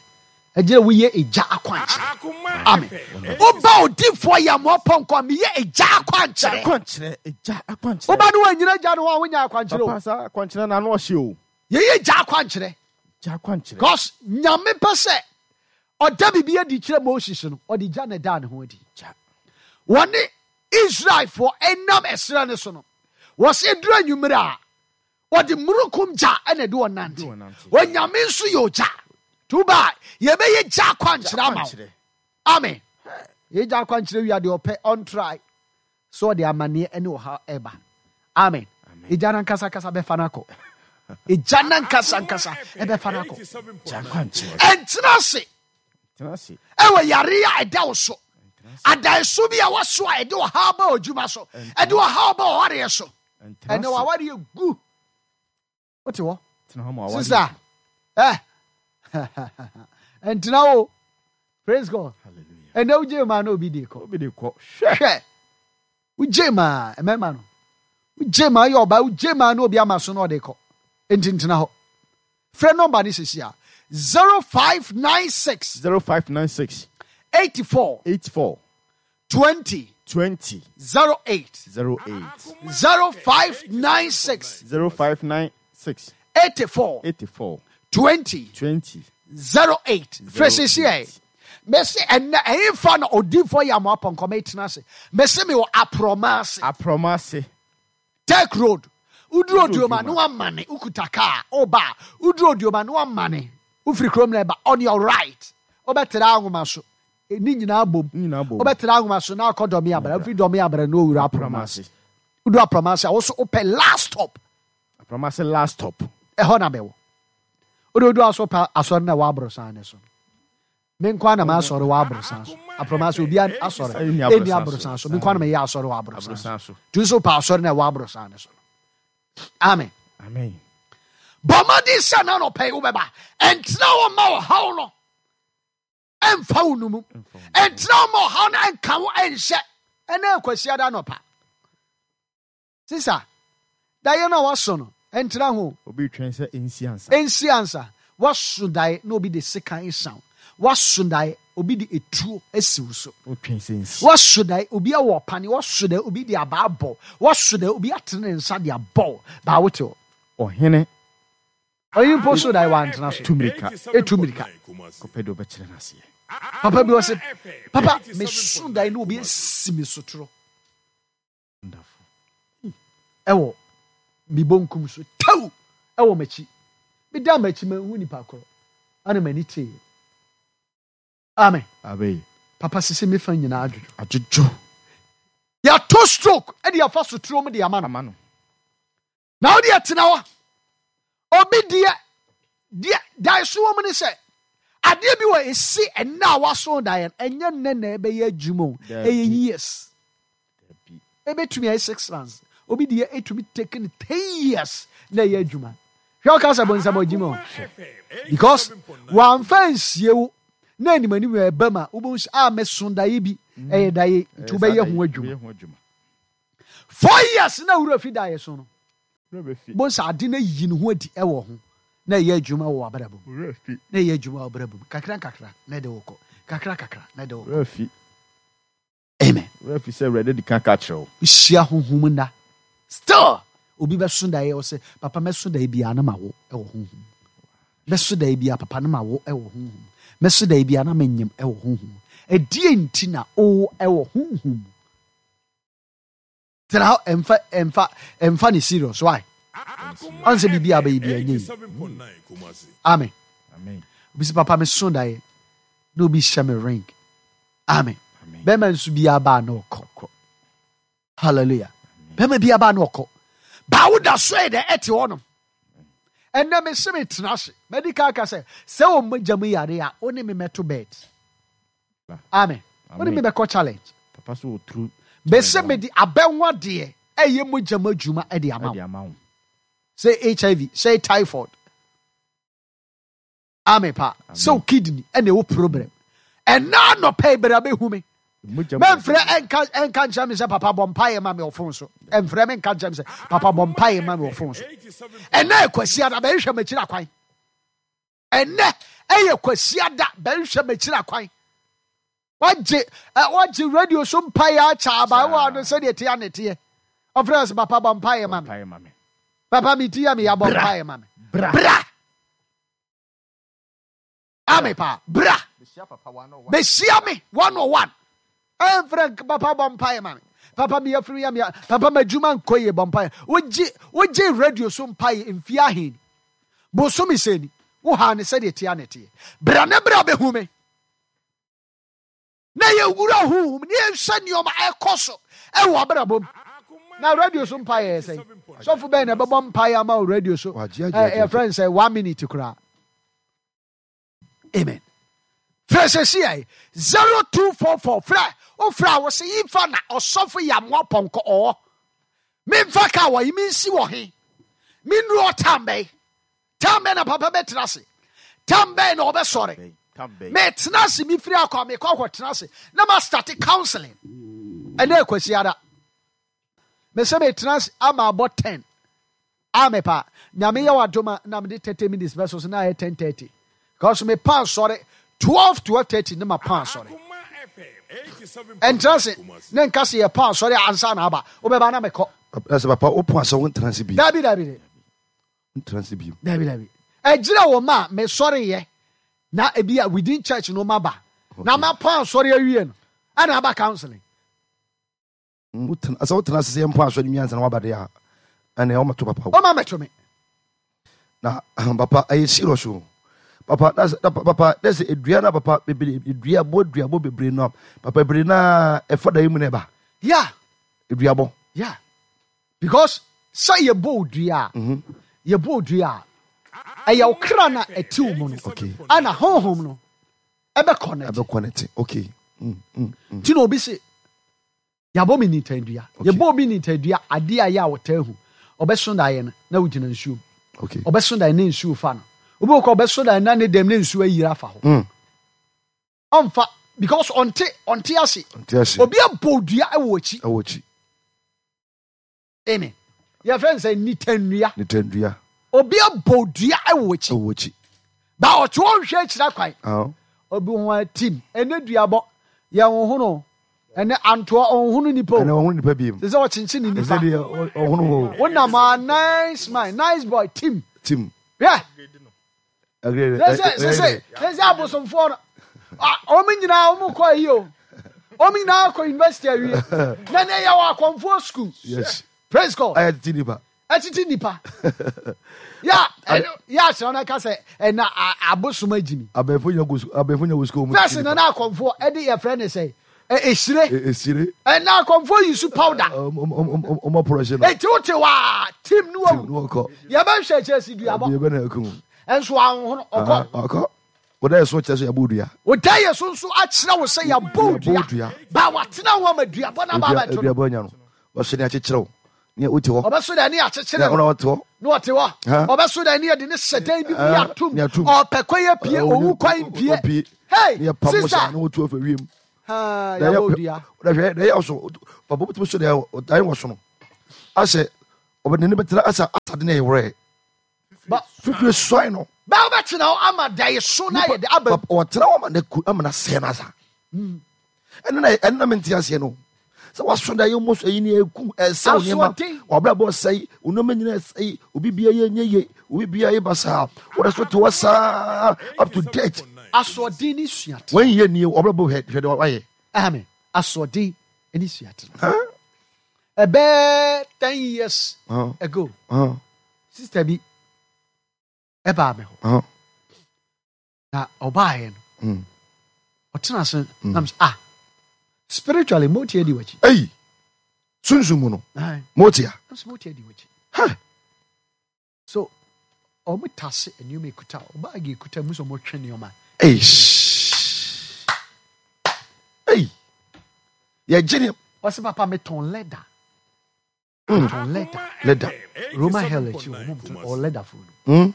ɛgyina woyɛ egya akwankyerɛ. Amen. Woba odifoɔ yɛ amoa pɔnkɔ a meyɛ egya akwankyerɛ. Akwankyerɛ. Egya akwankyerɛ. Woba ne woanyina gya no hɔ a wonya akwankyerɛ o. Papa saa akwankyerɛ na ano ɔhye o. Yɛyɛ egya akwankyerɛ. Egya akwankyerɛ. Because Nyame pɛ sɛ ɔda biribi adi kyerɛ Moses no, ɔde gya na ɛdaa ne ho adi. Gya. Wɔne Israelfoɔ ɛnam ɛserɛ no so no, wɔsɛ duru anwummerɛ a wɔde murukum gya ɛna ɛde wɔn nante. Ɛde wɔn nante. Onyame nso yɛ ogya. Tuba a yɛbɛyɛ gya akwankyerɛ ama wo. Akwankyerɛ. Amen. Yɛgya akwankyerɛ wia deɛ ɔpɛ ɔntrae sɛ ɔde amanneɛ ne ɔha ɛba. Amen. Egya no ankasa ankasa bɛfa no akɔ. Egya no ankasa ankasa ɛbɛfa no akɔ. Gya akwankyerɛ. Ɛntena ase Tena ase. ɛwɔ yare a ɛda wo so. Adaeso bi a waso a ɛde ɔhaw ba ɔdwuma so. Ɛde ɔhaw ba ɔwareɛ so. Ɛntena Ɛnɛ ase. wawareɛ gu. Wote hɔ? Tena hɔ ma awadeɛ. Sister. Eh. Ɛntena wo. Praise God. Hallelujah. Ɛnɛ wogye maa na obi de kɔ. Obi de kɔ. Hwɛ. Hwɛ. Wogye maa mmarima no. Wogye maa yɛ ɔbaa wogye maa na obi ama so na ɔde kɔ. Enti ntena hɔ. Frɛ nɔmba ne sisi a zero five nine six Zero five nine six eighty four eight four twenty twenty zero eight zero eight zero five nine six zero five nine six eighty four eighty four twenty twenty zero eight. Frɛ sisi ɛ. Mɛsi ɛnɛ ɛyinfa na odiifo yɛ amoa pɔnkɔ mɛ tena ase. Mɛsi mi wɔ aprɔma ase. Aprɔma ase. Tech Road. Uduru Uduru Odioma Odioma. no amane ukuta kaa ɔba uduru Odioma no amane ufiri kurom na ɛba on your right ɔbɛtena ahoma so ne nyinaa bom Ne nyinaa bom. ɔbɛtena ahoma so na akɔ dɔmi abra ufiri dɔmi abra na owura Aprɔma aprɔma ase. ase uduru aprɔma ase a woso wopɛ last stop. Aprɔma ase last stop. Ɛhɔ na bɛwɔ wode odu aso pa asɔre na ɛwɔ aborosan ne so me nkwa na maasɔre wɔ aborosan so aprɔma ase obi asɔre Ɛnni ɛnni aborosan aborosan so. so me nkwa na meyɛ asɔre wɔ aborosan so Aborosan so. tu nso pa asɔre na ɛwɔ aborosan ne so amen. Amen. Bɔ mmɔden sɛ na nɔpɛ yi wobɛba ɛntena wɔ ma ɔhaw no ɛmfa wo no mu ɛntena wɔ ma ɔhaw no ɛnka wo ɛnhyɛ ɛnɛ akwasiada nɔpa sisa daeɛ no a waso no ɛntena ho. Obi twɛn sɛ nsi ansa. Ɛnsi ansa waso daeɛ na obi de sekan san waso daeɛ obi de etuo asi wo so. Otwɛn sɛ nsi. Waso daeɛ obi awɔ ɔpane waso daeɛ obi de abaa bɔ waso daeɛ obi atene ne nsa de abɔ baa wote hɔ. Ɔhene Ɔyi mpo so daeɛ wantena so. Tu mirika. Etu mirika. Kɔpɛ deɛ ɔbɛkyerɛ n'aseɛ. Papa bi wɔ sɛ papa meso daeɛ na obi asi me sotoro. Wonderful. Ɛwɔ me bonkum so taw ɛwɔ m'akyi meda m'akyi mahu nipa korɔ ana m'ani tee amen. Amen. Papa sisi mefa nyinaa adwodwo. Adwodwo. Yɛato stroke ɛde yɛfa sotoro mu de ama no. Ama no. Na wode ɛtena hɔ obi deɛ deɛ dae so wɔ mu ne sɛ adeɛ bi wɔ ɛsi ɛnna a waso daeɛ no ɛnyɛ nnɛ na ɛbɛyɛ adwuma o. Dabi. Ɛyɛ years. Dabi. Ɛbɛtumi ayɛ six months obi deɛ ɛtumi take no ten years na ɛyɛ adwuma hwɛ ɔka sɛ bonsam ɔgyima o because wamfa nsie wo na anim anim ɛba mu a wobɛhu sɛ a meso daeɛ bi ɛyɛ daeɛ nti wobɛyɛ ho adwuma. Wobɛyɛ ho adwuma. Four years na wura fi daeɛ so no Bonsa ade na yi ne ho adi ɛwɔ ho na ɛyɛ adwuma wɔ abrabɔ mu na ɛyɛ adwuma wɔ abrabɔ mu kakra kakra na ɛde wokɔ kakra kakra na ɛde wokɔ. Amen. Refi sɛ Awurade di kan ka kyerɛ wo. Hyia honhom nna. Still obi bɛso daeɛ ɔsɛ papa mɛso daeɛ biara na ma wo ɛwɔ honhom. Mɛso daeɛ biara papa na ma wo ɛwɔ honhom. Mɛso daeɛ biara na menyem ɛwɔ honhom. Ɛdeɛ nti na o ɛwɔ honhom. Tena hɔ ɛmfa ɛmfa ɛmfa ne serious why? Ɔn sɛ biribi a bɛyɛ bi ɛnyɛ yi. Amen. Amen. Obi sɛ papa meso daeɛ na obi hyɛ me ring. Amen. Bɛrima nso bi aba na ɔkɔ. Hallelujah. Bɛrima bi aba na ɔkɔ. Baawo da so yɛ dɛ ɛte hɔ nom. Ɛnɛ me se me tena ase. Medical ka sɛ sɛ wɔn mogya mu yare a wo ne me mɛto bed. Amen. Wo ne me bɛkɔ challenge. Papa so oturu. Bɛsɛ me de abɛnwa deɛ ɛyɛ mogya mu adwuma ɛde ama wo. Sɛ H I V, sɛ typhoid. Amen pa. Sɛ wo kidney ɛna ɛwɔ problem. Ɛna anɔpɛ ibere abɛhu me. Mɛmfrɛ ɛnka ɛnka nkyerɛ me sɛ papa bɔ mpaeɛ ma me wɔ phone so. Ɛmfrɛ me nka nkyerɛ me sɛ papa bɔ mpaeɛ ma me wɔ phone so. Ɛnɛ Kwasi Ada bɛhwehwɛ m'akyiri akwan. Ɛnɛ ɛyɛ Kwasi Ada bɛhwehwɛ m'akyiri akwan. Wagye wagye radio so mpaeɛ akyɛ abaayewa no sɛdeɛ teɛ ne teɛ. Ɔfrɛ sɛ papa bɔ mpaeɛ ma me. Papa mi ti ya mi ya bɔ mpaeɛ ma me. Bra. Amen pa. Bra. Behyia me one on one. Ɛmfrɛ papa bɔ mpaeɛ ma me. Papa mi afiri ya mi papa ma adwuma nkɔ yie bɔ mpaeɛ. Wogye wogye radio so mpaeɛ mfie ahen. Bosome sɛ ni. Wo ha ne sɛdeɛ teɛ ne teɛ. Bra ne bra bɛhu me. Na yɛwura honhom ne yɛnhwɛ nneɛma ɛkɔ so ɛwɔ abrabɔ mu. Na radio so mpaeɛ yɛ sɛn? Sɔfo bɛn na ɛbɛbɔ mpaeɛ ama wo radio so? Ɛyɛ friend sɛ one minute koraa. Amen. Frɛ sɛsi yɛ zero two four four frɛ wofrɛ a wɔsɛ yifa na ɔsɔfo yɛ amoa pɔnkɔ ɔwɔ. Memfa ka wɔ yi mensi wɔ he. Mennuru ɔtam bɛn. Tam bɛn na papa bɛtena ase. Tam bɛn na ɔbɛsɔre. Metena ase mefiri akɔ a mekɔ akɔtena ase na ma start counseling. Ɛnɛ Kwasi Ada. Mesɛ metena ase ama abɔ ten. Ame pa. Nyame yɛ wadoma na mede thirty minutes bɛso so na ayɛ ten thirty. Because me pa asɔre twelve twelve thirty ne ma pa asɔre. Ɛntena ase ne nka se yɛ pa asɔre ansa na aba. Wobɛba na mekɔ. Ɛsɛ papa wo pa asɔre wo ntena ase bi. Dabi dabi. Ntena ase bi. Dabi dabi. Ɛgyina wɔ ma me sɔre yɛ. Na ebi a within church no ma ba. Na ma pa asɔre awie no. Ɛna aba counseling. Sɛ wotena ase sɛ yɛmpo asɔre nwiansa na waba de a ɛnɛ ɔmɛto papa wo. Ɔma mɛto me. Na papa ɛyɛ serious o. Papa na papa na sɛ edua na papa bebree edua bo edua bo bebree no papa bebree na ɛfa da yi mu na ɛba. Yeah. Edua bo. Yeah. Because sɛ yɛbɔ odua a yɛbɔ odua a ɛyɛ okra na ɛte mu no. Okay. Ana honhom no ɛbɛ connect. Ɛbɛ connect. Okay. Mm mm. Ti na obi se yɛabɔ me nitadua. Yɛbɔ obi nitadua ade a yɛ a wɔtaa hu. Ɔbɛso daeɛ no na wogyina nsuo mu. Okay. Ɔbɛso daeɛ ne nsuo fa no. Obi wɔ kɔ ɔbɛso daeɛ na ne dɛm ne nsuo ayiri afa hɔ. Mm. Ɔmfa because ɔnte ɔnte ase. Ɔnte ase. Obi abɔ dua ɛwɔ akyi. Ɛwɔ akyi. Amen. Yɛfrɛ no sɛ nitadua. Nitadua. Obi abɔ dua ɛwɔ akyi. Ɛwɔ akyi. Ba ɔte hɔ nhwɛ akyiri akwan. Ah. Obi ho a team ɛne duabɔ yɛn ho no. Ɛne antoa ɔnhunu nipa o. Ɛne ɔnhunu nipa bi mu. Sɛ sɛ ɔkyenkyen ne nipa. Ɛsɛ deɛ ɔhunu o. Wonam a nice man, nice boy, team. Team. Yeah. Agree. Sɛ sɛ sɛ sɛ sɛ sɛ abosomfoɔ no. Ɔmo nyinaa ɔmo kɔ ayi o. Ɔmo nyinaa kɔ university awie. Na ne yɛ wɔ akɔnfoɔ school. Yes. Praise God. Ayɛ titi nipa. Ɛtiti nipa. Ya ya akyerɛ no ka sɛ ɛna abosom agyimi. Abɛnfo nya go abɛnfo nya go school. First na na akɔnfoɔ ɛde yɛfrɛ ne sɛ esire. Esire. Ɛna akɔnfoɔ yi su powder. Ɔmɔ pɔrɔhyɛ no. Eti wote waa team ni Team ni wɔkɔ. Yɛbɛhwɛ kyerɛ si duabɔ. Yɛbɛ na ɛkum. Ɛnso ahohono ɔkɔ. Ɔkɔ. Woda yɛ so kyerɛ sɛ yɛabɔ dua. Woda yɛ so nso akyerɛ wo sɛ yɛabɔ dua. Ba watena ho ama duabɔ na ba abɛto no. Duabɔ nya no. Wɔhyɛ ne akyekyerɛ wo. Ne wote hɔ. Ɔbɛso dɛ ne akyekyere no. Ɔte hɔ. Ne ɔte hɔ. Ɔbɛso dɛ ne yɛde ne hyɛ dan bi mu yɛatom. Ɔpɛ kwan apue, owu kwan mpue. Hey, sister. Ne wotu afa wiem. Ha, yɛabɔ dua. Hwɛ, na ɛyɛ so. Papa wobɛtumi so dɛ ɔdan wɔ so no. Asɛ ɔbɛde ne bɛtena asɛ Atade no yɛ werɛ. Ba- Fifire suan no. Bɛɛ wobɛtena hɔ ama daeso no ayɛ de aba. Papa, ɔtena hɔ ama no ku ama no asɛe no asa. Ɛno na ɛno na mente aseɛ no. Sɛ waso da yɛ mu so ɛyi ne ɛku ɛsɛ wo nneɛma. Asoɔden. Wabrabɔ sɛe, wo nneɛma nyinaa sɛe, obi bia yɛ nyɛ ye, obi bia yɛ basaa. Wɔde so te hɔ saa up to date. Asoɔden ne suatena. Wɔn yɛ nie wabrabɔ hwɛ hwɛ de wayɛ. Amen. Asoɔden ne suatena. Ɛbɛɛ ten years Huh? ago, Huh? sister bi ɛbaa me hɔ. Huh? Na ɔbaeɛ no, Mm. ɔtena ase na mesɛ, ah, spiritually motia di w'akyi. Ei, sunsun mu no, Aye. motia. Na mesɛ motia di w'akyi. Ha. So ɔmo tase nneɛma ekuta, ɔbaagi ekuta mu sɛ ɔmo twe nneɛma. Ei. Ei. Yɛgye ne Ɔsɛ papa metɔn leather. Metɔn leather. leather. Roman hell akyi hɔ, ɔmo tɔn ɔwɔ leather fo no. Mm.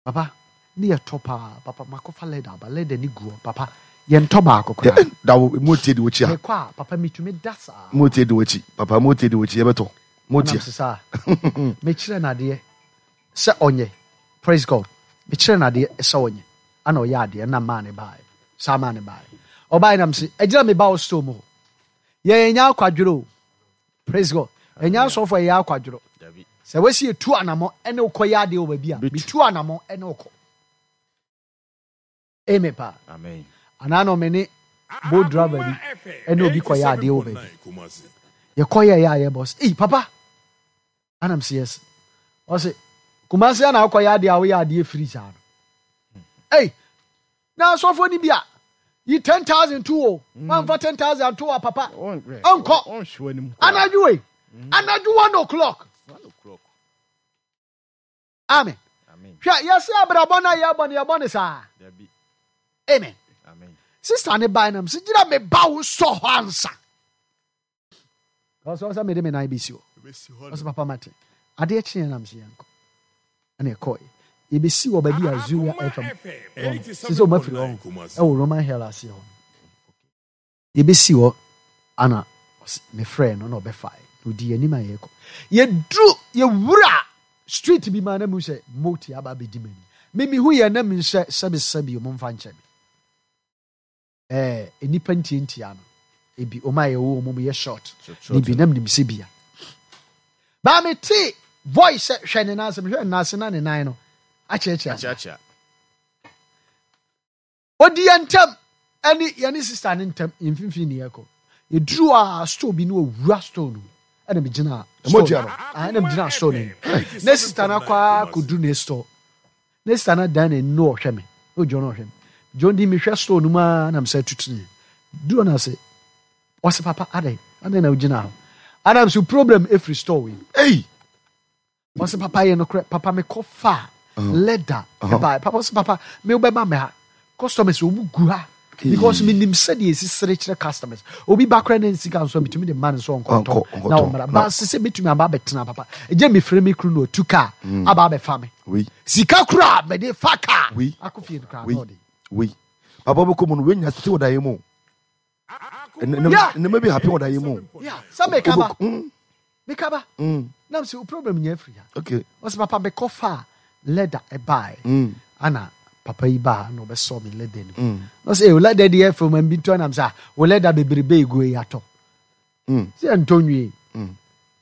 Papa, ne yɛ tɔ paa. Papa, makɔfa leather aba, leather ni gu hɔ. Papa, yɛntɔ baako koraa. Yɛ- Da wo motie di w'akyi a. Mekɔ a, papa metumi da saa. Motie di w'akyi. Papa motie di w'akyi yɛbɛtɔ. Motia. Nam sesa. Mekyerɛ n'adeɛ sɛ ɔnyɛ. Praise God. Mekyerɛ n'adeɛ sɛ ɔnyɛ. Ana ɔyɛ adeɛ na maa ne baeɛ. Saa maa ne baeɛ. Ɔbaeɛ nam se, ɛgyina me ba wo store mu hɔ. Yɛn nyɛ akwadworɔ o. Praise God. Ɛnyɛ asɔfo a yɛyɛ akwadworɔ. Dabi. Sɛ wɔsi etu anamɔ ɛne wokɔ yɛ adeɛ wɔ baabi a, Betu. metu anamɔ ɛne wokɔ. Amen paa. Amen. Anaa na ɔme ne boat driver bi ɛne obi kɔyɛ adeɛ wɔ baabi. Yɛkɔ yɛ yɛ a yɛbɔ sɛ, ei papa. Anam sɛ yes. Ɔse, Kumasi ana akɔyɛ adeɛ a woyɛ adeɛ firi saa no. Ei, na asɔfoɔ ni bi a, yi ten thousand to o. Wamfa ten thousand to a papa. Ɔnkɔ. Ɔnhwɛ anim. Anadwo wei. Anadwo one o'clock. One o'clock. Amen. Amen. Hwɛ, yɛsɛ abrabɔ no a yɛbɔ no, yɛbɔ no saa. Dabi. Amen. Amen. Sister ne bae nam sɛ gyina me ba wo sɔ hɔ ansa. Ɔsɛ ɔsɛ mede me nan bɛsi hɔ. Ɔsɛ papa mate. Adeɛ kyeɛ nam sɛ yɛnkɔ. Ɛna ɛkɔɛ. Yɛbɛsi wɔ baabi a Zuria F M wɔ no. Sɛ sɛ ɔma firi hɔ ho. Ɛwɔ Roman Hill ase hɔ. Yɛbɛsi hɔ ana ɔsɛ mefrɛ no na ɔbɛfae. Na ɔdi anim a yɛkɔ. Yɛduru yɛwura street bi ma na mu sɛ moti aba abɛdi m'anim. Me mehu yɛ na mi sɛ sɛbi sɛbi ɔmo mfa nkyɛ me. Eh, nnipa ntiantia no. Ebi ɔmo a yɛwɔ ɔmo mu yɛ short. Ne bi nam nim sɛ bia. Ba me te voice sɛ hwɛ ne nan ase, mehwɛ ne nan ase na ne nan no akyerɛkyerɛ ase. Akyerɛkyerɛ. Odi yɛn ntam ɛne yɛne sister ne ntam mfimfini ne yɛkɔ. Yɛduru a store bi ne owura store no mu. Ɛna megyina store Ɛmɔtua no. Ah, ɛna megyina store no mu. Ne sister no akɔ akɔduru ne store. Ne sister no dan n'ani na ɔhwɛ me. Na ogyina na ɔhwɛ me. John di mehwɛ store no mu a na mesɛ tutu ne. Duru na ase ɔsɛ papa adɛn adɛn na ogyina hɔ. Adam so problem efiri store wei. Ei. Ɔsɛ papa yɛ nokorɛ papa mekɔ fa leather ɛbaa papa ɔsɛ papa me wobɛba me ha customers ɔmu gu ha because menim sɛdeɛ ɛsi sere kyerɛ customers obi ba koraa ne nsika nso a metumi de ma no sɛ ɔnkɔtɔ Ɔnkɔ- ɔnkɔtɔ. na ɔmmra ba sɛ sɛ metumi aba abɛtena papa ɛgye mefrɛ me kunu na ɔtu kaa aba abɛfa me Oui. sika koraa mede fa kaa Oui. akɔ fie no koraa Oui. na ɔde Oui. Papa bɛkɔ mu no wenya tete wɔ daeɛ mu. Yeah. Nneɛma bi happen wɔ daeɛ mu. Yeah, sɛ meka ba Mm, meka ba mm, nam sɛ wo problem nyɛ afiri ha okay. ɔsɛ papa mekɔ fa leather ɛbaeɛ Mm, ana papa yi baa na ɔbɛsɔ me leather no mu mm, na ɔsɛ "Eh, wo leather deɛ ɛfɛ ma bi ntɔ nam sɛ "Ah, wo leather bebrebe egu yi atɔ mm, sɛ ɛntɔ nwie mm.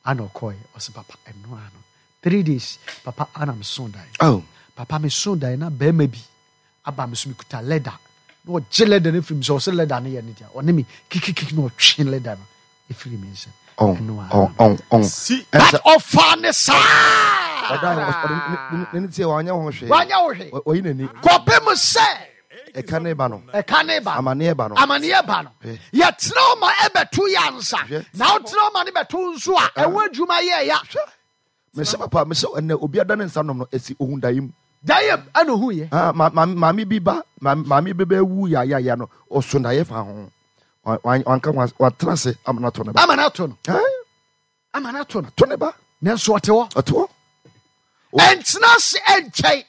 ana ɔkɔɛ ɔsɛ papa ɛno ano three days papa ana meso dan Oh. papa meso dan na bɛrima bi aba me so mekuta leather na ɔgye leather no firi mi sɛ ɔsɛ leather no yɛ ne deɛ ɔne me kikikiki na ɔtwe leather no ɛfiri mi nsam Oh, ɛno ano oh, oh, oh. Si. but ɔfa ne saa Ɔda ɔde ne ne tie wanyɛ ho hwee. wanyɛ wo hwee Ɔ- Ɔyi n'ani. kɔpem sɛ Ɛka ne ba no. ɛka ne ba Amanneɛ ba no. amanneɛ ba no Hwɛ. yɛtena wo ma ɛbɛto yɛ ansa Hwɛ. na wotena wo ma ne bɛto nso a ɛwɔ adwuma yɛ ya Mesɛ papa mesɛ ɛnɛ obi ada ne nsa nom no esi ohun daeɛ mu. dayɛ ɛna ohuyɛ Ah, ma ma maame bi ba maame maame bi bɛwu yayaya no ɔso daeɛ fa ho. Wa- wa- Wanka wa- watena ase ama no ato ne ba. ama no ato no Eh, ama no ato no to ne ba. nanso ɔte hɔ Ɔte hɔ. ɛntena ase ɛnkyɛn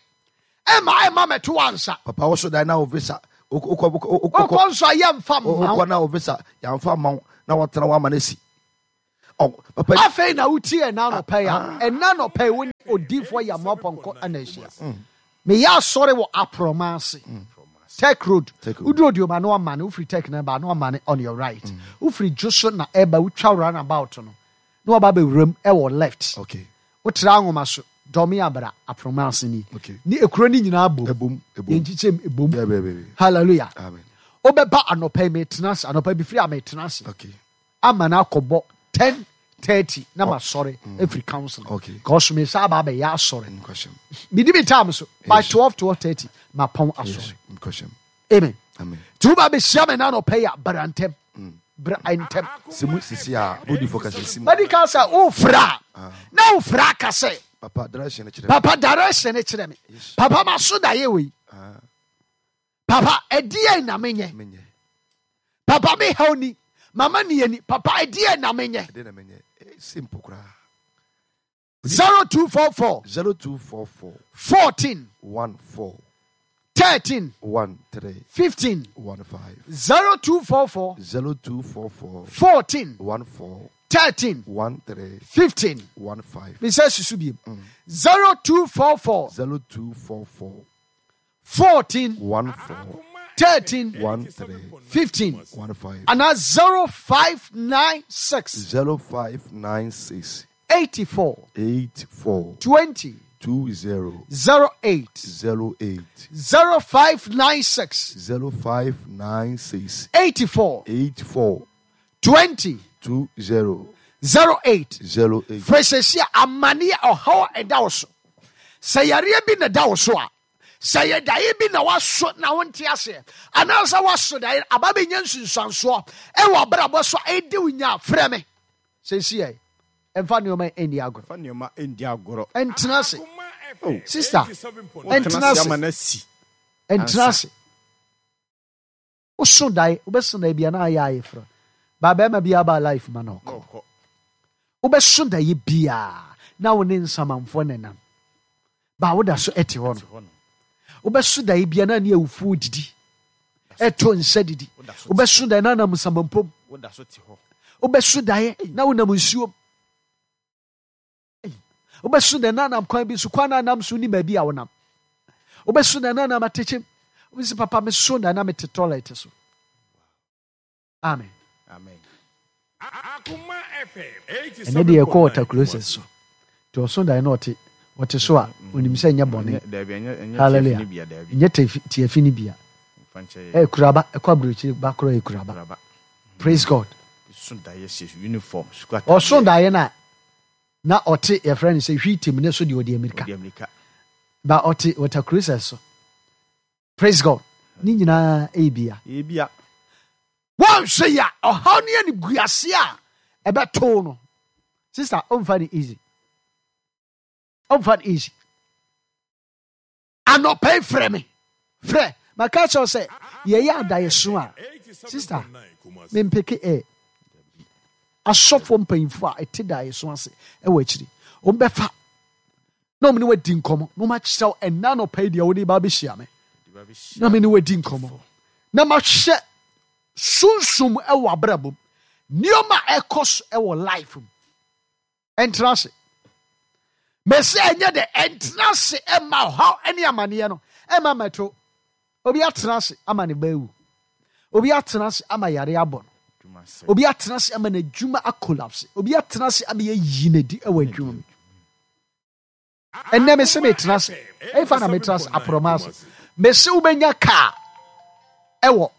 ɛma ɛma mɛto ansa Papa wɔso daeɛ na wo visa. Wokɔ wokɔ wokɔ wokɔ nso a yɛmfa mma wo wokɔ na wo visa yɛamfa ma wo na wɔtena wo ama no asi. Papa Afei na wotie ɛna anɔpa yi a, ɛna anɔpa yi wo ne odiifoɔ Yamoah Pɔnkɔ ana ahyia. Meyɛ asɔre wɔ Aprɔma ase. Tech Road. Tech Road. Woduru Odioma na wamane, wofiri Tech na ɛba na wamane on your right. Wofiri Dwoso na ɛba, wotwa roundabout no na waba abɛwuram ɛwɔ left. Okay. Wotra Anwoma so, Dɔme Abra, Aprɔma ase ni. Okay. Ne ekuro no nyinaa bom. Ebom, ebom. Yɛn kyekyɛm ebom. Yeah, yeah, yeah, yeah. Hallelujah. Amen. Wobɛba anɔpa yi metena ase, anɔpa bi firi a metena ase. Okay. Ama no akɔbɔ ten thirty na ma sɔre efiri council. Okay. Because me sa aba abɛyɛ asɔre. Nkɔhyɛm. Medi me time so by Yes. twelve twelve thirty ma pɔn asɔre. Yes. Nkɔhyɛm. Amen. Amen. Nti woba abɛhyia me na anɔpa yi a, bra ntɛm. Bra ntɛm. Sɛ mu sisi a, odifo ka sɛ si mu. Madi ka sɛ wofra a, na wofra aka sɛ Papa direction kyerɛ me. Papa direction kyerɛ me. Yes. Papa ma so da yɛ wei. Ah. Papa ɛdeɛ na menyɛ. Menyɛ. Papa me haw ni. Mama ni ani. Papa ɛdeɛ na menyɛ. Ɛdeɛ na menyɛ. Eh, simple koraa. zero two four four. zero two four four. fourteen. one four. thirteen. one three. fifteen. one five. zero two four four. zero two four four. fourteen. one four. thirteen. one three. fifteen. one five. Me say susu biem. zero two four four. zero two four four. fourteen. one four. thirteen. one three. fifteen. one five. And now zero five nine six. zero five nine six. eighty-four. eight four. twenty. two zero. zero eight. zero eight. zero five nine six. zero five nine six. eighty-four. eight four. twenty. two zero. zero eight. zero eight. Fresesia amani ɔhaw ɛda wo so. Sɛ yareɛ bi na ɛda wo so a, sɛ yɛ daeɛ bi na waso na wonte aseɛ, anaasɛ waso daeɛ aba bɛnya nsunsuansoɔ ɛwɔ abrabɔ so a ɛdi wo nya, frɛ me. Seesia ɛmfa nneɛma ɛnni agorɔ. Ɛmfa nneɛma ɛnni agorɔ. Ɛntena ase. Oh. Sister, Wotena ɛntena ase ase. ama no asi. Ɛntena ase. Woso daeɛ, wobɛso daeɛ bia na ayɛ ayɛ frɛ. Ba bɛrima bi aba life ma na ɔkɔ. Na ɔkɔ. Wobɛso daeɛ bia na wo ne nsamanfoɔ nenam. Ba woda so ɛte hɔ no. Wobɛso daeɛ bia na ne awufoɔ didi. Ɛto nsa didi. Wobɛso daeɛ na nam nsamanpom. Woda so te hɔ. Wobɛso daeɛ na wonam nsuom. Wobɛso daeɛ na nam kwan bi so, kwan na nam so ni baabi a wonam. Wobɛso daeɛ na nam atekyem. Wobɛsi papa me so daeɛ na mete toilet so. Amen. Amen. Ɛnɛ deɛ yɛkɔ water closet so. Nti ɔso daeɛ na ɔte, ɔte so a, onim sɛ ɛnyɛ bɔne. Daabi, ɛnyɛ, ɛnyɛ Hallelujah. tiafi no bia, daabi. Ɛnyɛ tiafi, tiafi no bia. Mfa nkyɛ yɛ. Ɛyɛ kuraba, ɛkɔ aburokyire ba korɔ yɛ kuraba. Kuraba. Praise God. So daeɛ hyɛ uniform, sukuu atadeɛ. Ɔso daeɛ na na ɔte yɛfrɛ no sɛ hwii tim ne so deɛ ɔde amirika. Ɔde amirika. Ba ɔte water closet so. Praise God. Ne nyinaa ɛyɛ bia. Ɛyɛ bia. Wɔnhwɛ yi a, ɔhaw ne animguase a ɛbɛtoo no. Sister, ɔmfa no easy. Ɔmfa no easy. Anɔpa yi frɛ me. Frɛ. Maka kyerɛ wo sɛ, yɛyɛ adaeɛso a, sister, mempeke ɛ. Asɔfoɔ mpanyimfoɔ a ɛte daeɛso ase ɛwɔ akyiri. Wɔmbɛfa na wɔn ne wadi nkɔmmɔ. Na wɔn akyerɛ wo ɛnna anɔpa yi deɛ wɔde ba abɛhyia me. Na me ne wadi nkɔmmɔ. Na mahwɛ sunsum ɛwɔ abrabɔ mu. Nneɛma a ɛkɔ so ɛwɔ life mu. Ɛntena ase. Mɛsɛ ɛnyɛ dɛ ɛntena ase ɛma ɔhaw ɛne amaneɛ no ɛma mɛto. Obi atena ase ama ne ba awu. Obi atena ase ama yare abɔ no. Obi atena ase ama n'adwuma akolapse. Obi atena ase ama yɛyi n'adi ɛwɔ adwuma mu. Ɛnnɛ mese metena ase. Ɛmfa na metena ase aporɔma ase. Mese wobɛnya kaa ɛwɔ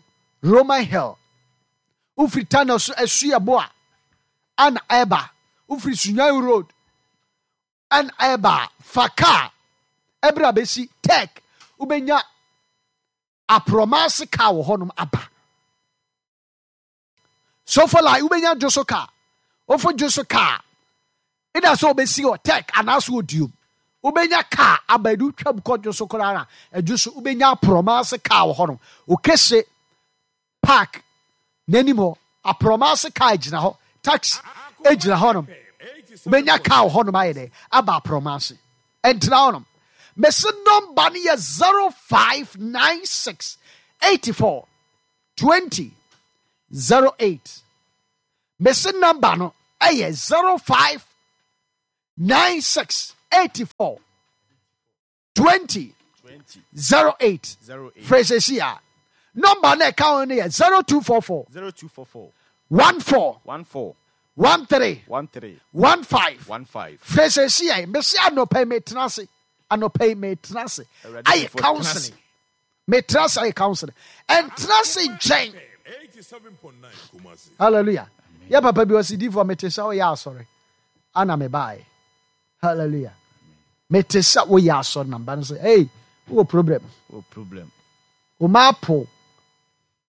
Roman Hill. Wofiri Tano so asu ɛbo a ana ɛba. Wofiri Sunyani Road ana ɛba. Fa kaa ɛberɛ a bɛsi Tech. Wobɛnya aporɔma ase kaa wɔ hɔnom aba. So for like wobɛnya dwo so kaa. Wofo dwo so kaa. Ida sɛ wobɛsi wɔ Tech anaasɛ wɔ Duom. Wobɛnya kaa aba edu twam kɔ dwo so koraa na ɛdwo so wobɛnya aporɔma ase kaa wɔ hɔnom. Okese park n'anim hɔ aporɔma ase kaa gyina hɔ. Taxi gyina hɔnom. Wobɛnya kaa wɔ hɔnom ayɛ dɛ aba aporɔma ase. Ɛntena hɔnom. Mesi nɔmba no yɛ zero five nine six eighty four twenty zero eight. Mesi nɔmba no ɛyɛ zero five nine six eighty four twenty zero eight. Frɛ sɛsi a nɔmba no ɛka ho no yɛ zero two four four zero two four four one four one four one three one three one five. one five. Frɛ sɛsi a mesi anɔpa yi metena ase, anɔpa yi metena ase Awurade ayɛ before tena ase. counseling, metena ase ayɛ counseling, ɛntena ase nkyɛn. Hallelujah. Yɛ papa bi ɔsi difoɔ mete sɛ woyɛ asɔre ana mebaeɛ. Hallelujah. Mete sɛ woyɛ asɔre na mba no sɛ hey, wowɔ problem. Wɔ problem. Wo ma apo.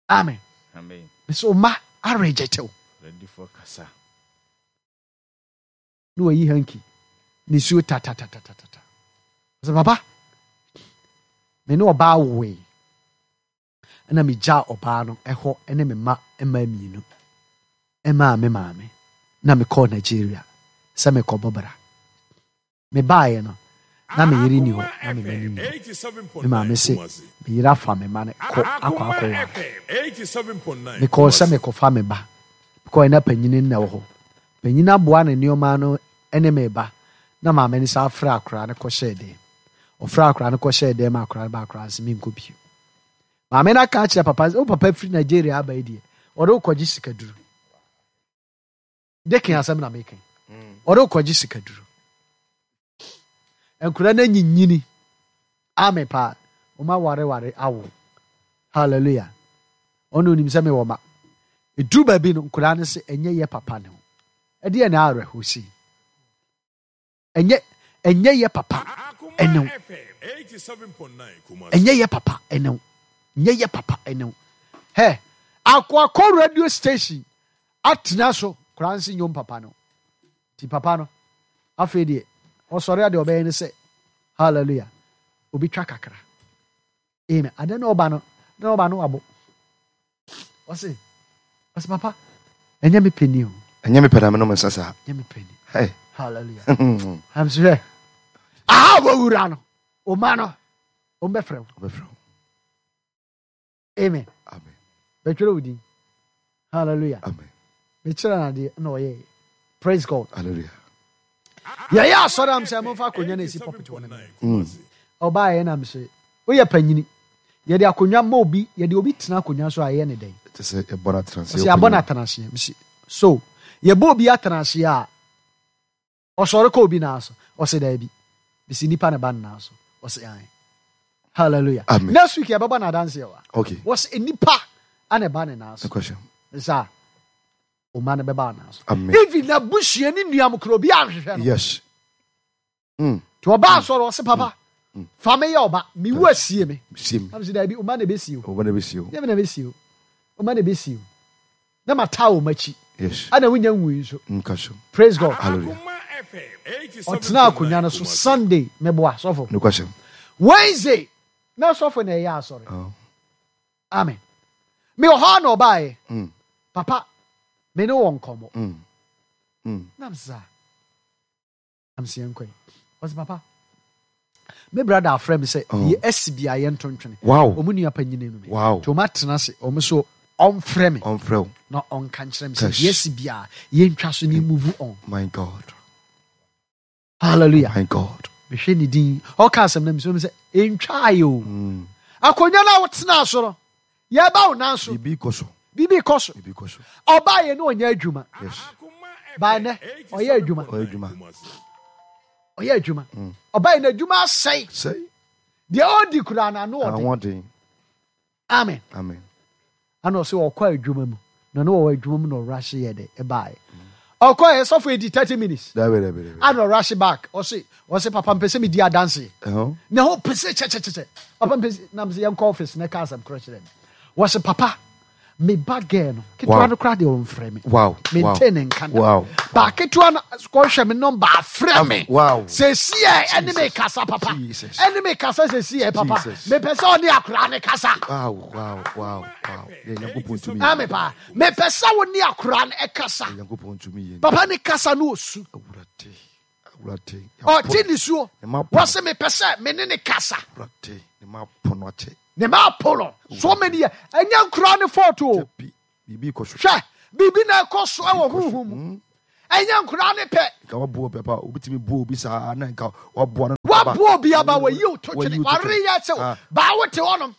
Amen. Amen. Mesɛ wo ma areject wo. Awurade kasa. Na wayi hanky ne suo tatatatatata. Sɛ papa, me ne ɔbaa woe ɛna megyaa ɔbaa no ɛhɔ ɛne me mma mmaa mmienu ɛmaa me maame na mekɔɔ Nigeria sɛ mekɔbɔ bra. Mebaeɛ no na me yere ni hɔ na me mma ni ni hɔ. Me maame se me yere afa me mma no kɔ akɔ akɔware. Mekɔɔ sɛ mekɔfa me ba. Mekɔɔ na panyini na ɛwɔ hɔ. Panyini aboa ne nneɛma no ɛne me ba na maame no sa afrɛ akwaraa no kɔhyɛɛ dɛm. Ɔfrɛ akwaraa no kɔhyɛɛ dɛm ma akwaraa no ba akwaraa no sɛ menkɔ bio. Maame no aka akyerɛ papa sɛ wo papa firi Nigeria aba yi deɛ ɔde wo kɔgye sikaduro. Dekin asɛm na meka. Ɔde wo kɔgye sikaduro. Nkwaraa no anyinyini. Ame paa. Ɔma wareware awo. Hallelujah. Ɔno onim sɛ mewɔ ma. Ɛduru baabi no nkwaraa no sɛ ɛnyɛ yɛ papa ne ho. Ɛdeɛ na awerɛho si. Ɛnyɛ ɛnyɛ yɛ papa ɛne wo. Ɛnyɛ yɛ papa ɛne wo. Ɛnyɛ yɛ papa ɛne wo. Hɛ, akɔ radio station atena so koraa nsi nyom papa no. Ti papa no afei deɛ ɔsɔre adeɛ ɔbɛyɛ ne sɛ hallelujah obi twa kakra. Amen. Ade na ɔba no na ɔba no wabɔ. Ɔse ɔse papa ɛnyɛ me pɛ ni o. Ɛnyɛ me pɛ na menom nsa saa. Ɛnyɛ me pɛ ni. Hey. Hallelujah. I'm sure. Aha wɔwura no ɔma no ɔmbɛfrɛ wo. Ɔbɛfrɛ wo. Amen. Amen. Bɛtwerɛ wo din. Hallelujah. Amen. Mekyerɛ no adeɛ na ɔyɛɛ. Praise God. Hallelujah. Yɛyɛ asɔre am sɛ momfa akonnwa no esi pulpit hɔ no. Ɔbaayɛ nam sɛ woyɛ panyini. Yɛde akonnwa ma obi, yɛde obi tena akonnwa so a ɛyɛ ne dɛn? Te sɛ yɛbɔ no atena ase. Ɔsɛ yɛabɔ no atena aseɛ. Mesi so yɛbɔ obi atena aseɛ a ɔsɔre kɔ obi naa so. Ɔsɛ daabi. Mesi nipa ne ba ne naa so. Ɔsɛ ae. Hallelujah. Amen. Next week yɛbɛbɔ no adanseɛ wa. Okay. Wɔsɛ nipa ana ɛba ne naa so. Question. Saa ɔma no bɛba naa so. Amen. Even n'abusua ne nnuam koro obi anhwehwɛ no. Yes. Mm. Nti ɔba asɔre ɔsɛ papa fa me yɛ ɔba mewu asie me. Sie me. Am sɛ daabi ɔma na ɛbɛsie o. Ɔba na bɛsie o. Nyɛ me na ɛbɛsie o. Ɔma na ɛbɛsie o. Na ma taa wɔ m'akyi. Yes. Ana wonya nwui nso. Nka so. Praise God. Hallelujah. Ɔtena akonnwa no so Sunday meboa sɔfo. No question. Wednesday na sɔfo na ɛyɛ asɔre. Oh. Amen. Me wɔ hɔ a na ɔbaeɛ. Mm. Papa me ne wɔ nkɔmmɔ. Mm. Mm. Nam saa. Nam sɛ yɛnkɔ yi. Ɔsɛ papa me brother afrɛ me sɛ Oh. deɛ asi bi a yɛnto ntwene. Wow. Ɔmo nua panyini no me. Wow. Nti ɔmo atena ase ɔmo so ɔmfrɛ me Ɔmfrɛ wo. na ɔnka nkyerɛ me sɛ Cash. deɛ asi bi a yɛntwa so ne move on. My God. Hallelujah. My God. Mehwɛ ne din ɔka asɛm na mesɛ sɛ ɛntwaeɛ o. Mm. Akonnwa no a wotena so no yɛba wo nan so. Biribi kɔ so. Biribi kɔ so. Biribi kɔ so. Ɔbaeɛ ne ɔnyɛ adwuma. Yes. Baa nnɛ ɔyɛ adwuma. Ɔyɛ adwuma. Ɔyɛ adwuma. Ɔbaeɛ no adwuma asɛe. Sɛ Deɛ ɔdi koraa no ano ɔden. ahoɔden. Amen. Amen. Ana ɔsɛ ɔkɔ adwuma mu. Na ne wɔwɔ adwuma mu na ɔrahye yɛ dɛ ɛbaeɛ. Ɔkɔɛ sɔfo edi thirty minutes. Dabi dabi dabi. Ana ɔrahye back. Ɔse ɔse papa mpɛ sɛ medi adanseɛ. Ɛhɔ. Na ho pɛ sɛ kyɛkyɛkyɛkyɛ. Papa mpɛ sɛ nam sɛ yɛnkɔ office na ɛka asɛm korɔ kyerɛ me. Wɔse papa me ba girl no ketewa Wow. no koraa deɛ ɔmfrɛ me. Wow. Wow. Mente ne nka da. Wow. Ba ketewa no kɔhwɛ me nɔmba afrɛ me. Wow. Sɛsi ɛ ɛne me kasa papa. Jesus. Ɛne me kasa sɛsi ɛ papa. Jesus. Mepɛ sɛ ɔne akwaraa ne kasa. Wow. Wow. Wow. Wow. Yɛ Nyankopɔn tumi yɛ. Ame paa. Mepɛ sɛ wo ne akwaraa no ɛkasa. Yɛ Nyankopɔn tumi yɛ. Papa ne kasa no osu. Awurade. Awurade. Ɔte ne suo. Ne ma pono. Wɔse mepɛ sɛ me ne ne kasa. Awurade. Ne ma pono akyɛ. Ne ma apo no. So many years. Ɛnyɛ nkoraa ne fault o. Bi biribi kɔ so. Hwɛ biribi na ɛkɔ so ɛwɔ honhom mu. Ɛnyɛ nkoraa ne pɛ. Nka waboa obi aba, obitumi boa obi saa na nka waboa no. Waboa obi aba, wayi wo to twene, wareyɛ sɛ Ah. baa wote hɔnom.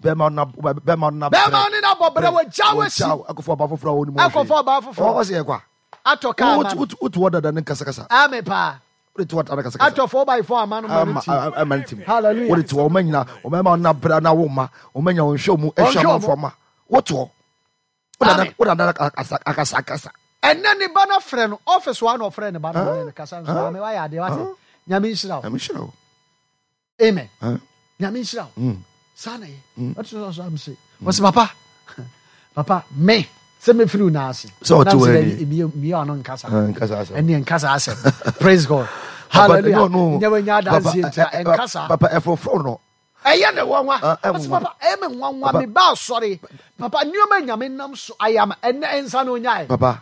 Bɛrima na bɛrima na Bɛrima ne no abɔ brɛ, wagya wasi. Akɔfo ɔbaa foforɔ a wɔn mu. Akɔfa ɔbaa foforɔ. Ɔwɔ sɛ yɛ kwa. Atɔ kaa ma no. Wotu hɔ dada ne nkasakasa. Ame paa. Wode to hɔ dada kasakasa. Atɔ four by four ama no ma no ti. Ama no tim. Hallelujah. Wode to hɔ ɔma nyina ɔma na brɛ na wo ma ɔma nya ɔnhwɛ mu ɛhwɛ Ɔnhwɛ amanfoɔ ma. Wotu hɔ. Amen. Wode dada akasa akasa. Ɛnɛ ne ba no frɛ no office wa na ɔfrɛ ne ba no ne no kasa nso maame wayɛ adeɛ wate. Nyame nhyira wo. Nyame nhyira wo. Amen. Ah. Nyame nhyira wo. Mm. Saa na yɛ. Ɔte sɛ ɔsɔ am se. Wɔsi papa. Papa me sɛ mefiri wo nan ase. Sɛ ɔte Na wɔ mesɛ ani. daabi, meyɛ- meyɛ ɔno nkasa. Ah, nkasa asɛm. Ɛne nkasa asɛm. Praise God. Papa, Hallelujah. no, no. Nyɛ wanya Papa, adanseɛ ntia eh, eh, ɛnkasa. Papa ɛfoforo no. Ɛyɛ ne nwanwa. Ah, ɛyɛ Ɔsɛ nwanwa. papa ɛyɛ me nwanwa Papa. me ba asɔre. Papa nneɛma nyame nam so ayɛ ama ɛnɛ ɛnsa na onyae. Papa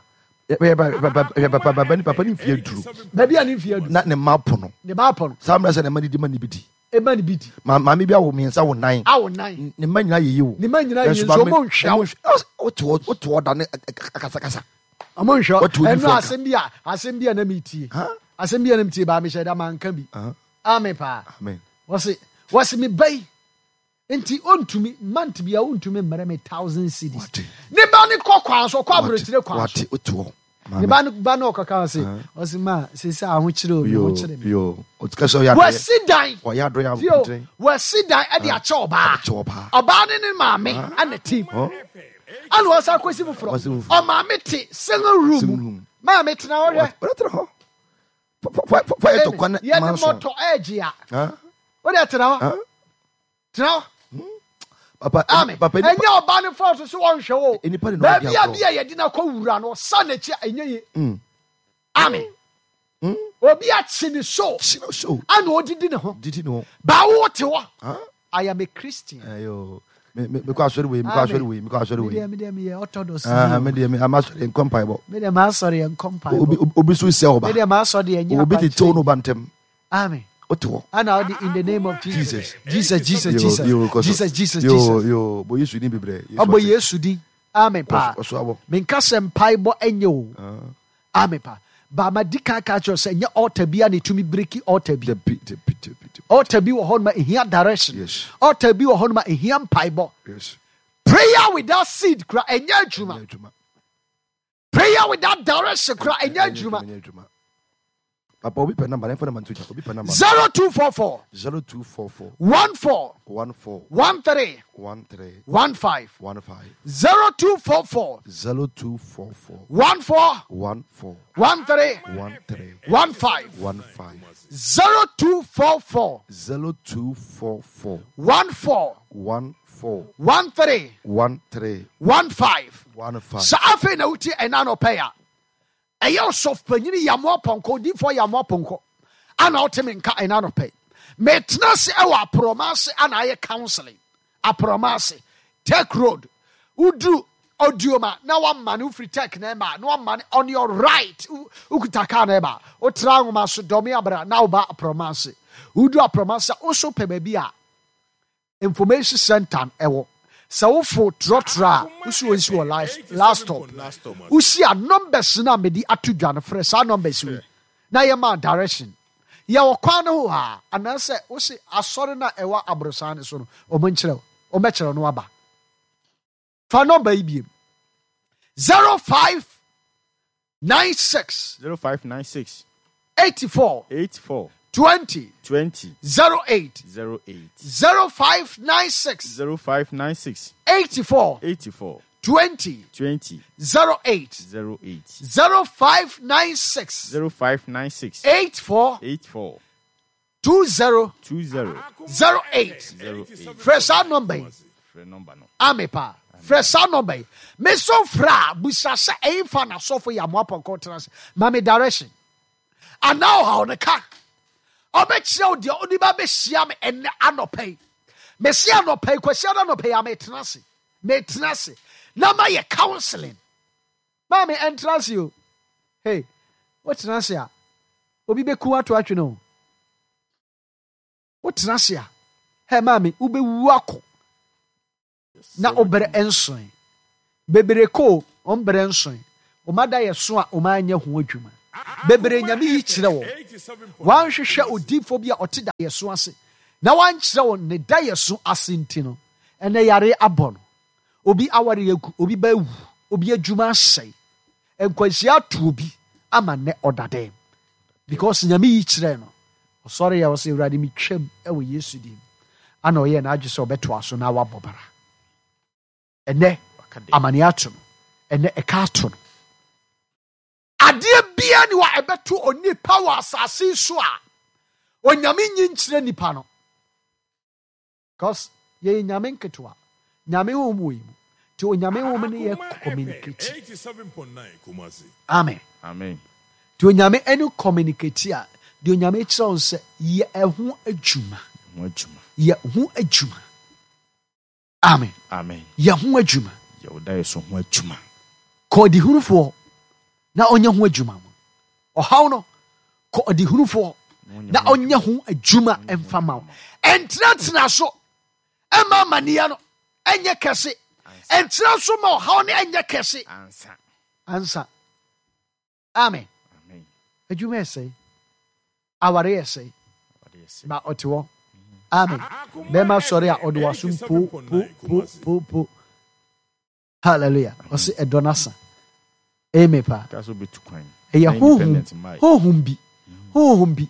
papa papa ni papa ni mfie duru. Baabi a ne mfie adu. Na ne mma po no. Ne ba apɔ no. Saa mmerɛ sɛ ne mma didi ma ne bi di. Ema ne bi di. Ma maame bi awo mmiɛnsa wo nan. Awo nan. Ne mma nyinaa yɛ yie o. Ne mma nyinaa yɛ Nanso nso maame- ɔmo nhwɛ wo. ɔmo nhwɛ. Wote hɔ wote hɔ da ne akasakasa. Ɔmo nhwɛ. Wɔte wo Ɛno nifa asɛm bi a asɛm bi a na metie. Huh? Asɛm bi a na metie baa mehyɛ da manka bi. Ah, Amen paa. Amen. Wɔse wɔse me ba yi nti ontumi month bi a ontumi mmerɛ me thousand cedis. Wate. Ne ba ne kɔ kwan so ɔkɔ aburokyire kwan so. Wate wote hɔ. Ne ba no ba no ɔkɔka ɔse ɔse ma sese ahokyere o me Yo ho kyere me. yo. Otika sɛ ɔyɛ adɔyɛ. Wɔasi dan. Ɔyɛ adɔyɛ Tio, abotire. wɔasi dan ɛde akyɛ ɔbaa. Akyɛ ɔbaa. Ɔbaa ne ne maame ɛna team. Hɔ? Ɛna wɔsan kɔsi foforɔ. Wɔsi foforɔ. Ɔmaame te single room. Single mu. room. Maame tena hɔ hwɛ. Wɔde tena hɔ. Fa fa fa yɛ tɔ kwan Yɛde manso. mɔtɔ ɛɛgye a. Ah, Wode tena hɔ. ah. Tena hɔ. Papa Amen. papa Ɛnyɛ ɔbaa ne fɔɔso so wɔnhwɛ wo. Nnipa de na ɔdi Baabi a agorɔ. bi a yɛde no akɔ wura no ɔsa n'akyi a ɛnyɛ ye. Mm. Amen. Mm. Obi akyi ne so Kyi no so. ana odidi ne ho. Didi ne ho. Baawo te hɔ. Ah. I am a Christian. Ayo. Me me me kɔ asɔre wei, me kɔ asɔre wei, me kɔ asɔre wei. Me deɛ me deɛ meyɛ orthodox. Ah, me deɛ me ama asɔre nkɔ mpaebɔ. Me deɛ m'asɔre yɛ nkɔ mpaebɔ. Obi obi so sɛ ɔba. Me deɛ m'asɔre yɛ nyɛ Obi tete akwankyerɛ. no ba ntɛm. Amen. Wote hɔ. Ana ɔde in the name of Jesus. Jesus. Jesus, Jesus, Yo, Jesus. yo, kɔ so. Jesus, Jesus, Yo, Jesus. yo, bɔ Yesu din bebree. Yesu Ɔbɔ ɔte. Yesu din. Amen paa. Ɔso abɔ. Menka sɛ mpaebɔ ɛnyɛ o. Amen paa. Baama di kan ka kyerɛ sɛ ɛnyɛ altar bi a na etumi break altar bi. Dabi, dabi, dabi, dabi. Altar bi wɔ hɔ nom a ehia direction. Yes. Altar bi wɔ hɔ nom a ehia mpaebɔ. Yes. Prayer without seed kura ɛnyɛ adwuma. Ɛnyɛ adwuma. Prayer without direction kura ɛnyɛ adwuma. Ɛnyɛ adwuma. Papa obi pɛ number, ɛnfa number nto gya. Obi pɛ number. Zero two four four Zero two four four one four one four one three one three one five one five zero two four four zero two four four one four one four one three one three one five one five zero two four four zero two four four one four one four one three one three one five. one five. Sɛ afei na wotie ɛna anɔpɛ yi a ɛyɛ ɔsɔfo yamoa pɔnkɔ odiifoɔ yamoa pɔnkɔ ana wote me nka ɛna anɔpɛ yi metena ase ɛwɔ aporɔma ase ana ayɛ counseling aporɔma ase tech road woduru odioma na wama ne wofiri tech na ɛma na wama ne on your right wo- wokuta car na ɛba wotra nwoma so dɔme abra na woba aporɔma ase woduru aporɔma ase a woso pɛ baabi a information center ɛwɔ sɛ wofo trɔtrɔ a wosi wɔn si wɔ last last stop wosi a numbers no a mede ato dwa no frɛ saa numbers wei na yɛma direction yɛwɔ kwan no ho a anaasɛ wosi asɔre no a ɛwɔ aborosan no so no ɔmo nkyerɛ wo ɔmɛkyerɛ no aba fa number yi biem zero five nine six Zero five nine six eighty four eight four twenty twenty zero eight zero eight zero five nine six zero five nine six eighty four eighty four twenty twenty zero eight zero eight zero five nine six zero five nine six eight four eight four two zero two zero zero eight. zero eight. Frɛ saa number yi. Frɛ number no. Ame paa. Frɛ saa number yi. Me so frɛ a busa sɛ ɛyi fa na sɔfo yɛ amoa pɔnkɔ tena ase. Ma me direction. Anaa ɔhaw ne ka. Ɔbɛkyerɛ wo deɛ ɔde ba bɛhyia me ɛnɛ anɔpa yi. Mesi anɔpa yi kwasi ada anɔpa yi a metena ase. Metena ase. Na ma yɛ counseling. Maame ɛntena ase o. Hey, wotena ase a obi bɛku ato atwene o. Wotena ase a hey maame wobɛwu akɔ. Na wobrɛ nson bebree ko ɔmbrɛ nson Ɔma da yɛ so a ɔma anyɛ ho adwuma. Bebree Nyame yi kyerɛ wɔn. Wanhwehwɛ odiifo bi a ɔte da yɛ so ase. Na wankyerɛ wɔn ne da yɛ so ase nti no, ɛnɛ yare abɔ no. Obi aware agu, obi ba awu, obi adwuma asɛe. Nkwanhyia ato obi ama nnɛ ɔda dɛm. Because Nyame yi kyerɛ no. Ɔsɔre yɛ ɔsɛ Awurade metwam ɛwɔ Yesu dim. Ana ɔyɛ n'adwe sɛ ɔbɛtoa so na wabɔ bara. Ɛnɛ amane ato no. Ɛnɛ ɛka ato no. Adeɛ bia ni wa ɛbɛto onipa wɔ asase so a Onyame nyi nkyerɛ nipa no. Because yɛyɛ Nyame nketewa. Nyame honhom wɔ yi mu. Nti Onyame honhom ne yɛ communicate. Amen. Amen. Nti Onyame ɛne communicate a deɛ Onyame kyerɛ wo sɛ yɛ ɛho adwuma. Ho adwuma. Yɛ ho adwuma. Amen. Amen. Yɛ ho adwuma. Yɛ wo da yɛ so ho adwuma. Kɔ ɔdehunufoɔ na ɔnyɛ ho adwuma. Ɔhaw no kɔ ɔdehunufoɔ na ɔnyɛ ho adwuma ɛmfa ma wo. Ɛntenatena so ɛma amanneɛ no ɛnyɛ kɛse. Ɛntena so ma ɔhaw no ɛnyɛ kɛse. Ansa. Ansa. Amen. Amen. Adwuma ɛsɛe. Aware ɛsɛe. Ɔde yɛ sɛ. Ma ɔte hɔ. Amen. Bɛrima sɔre a ɔde wasom po po po po po. Hallelujah. Ɔse ɛdɔ n'asa. Amen paa. Ka sɛ wobɛtu kwan. Ɛyɛ Na honhom independent mmae. honhom bi honhom bi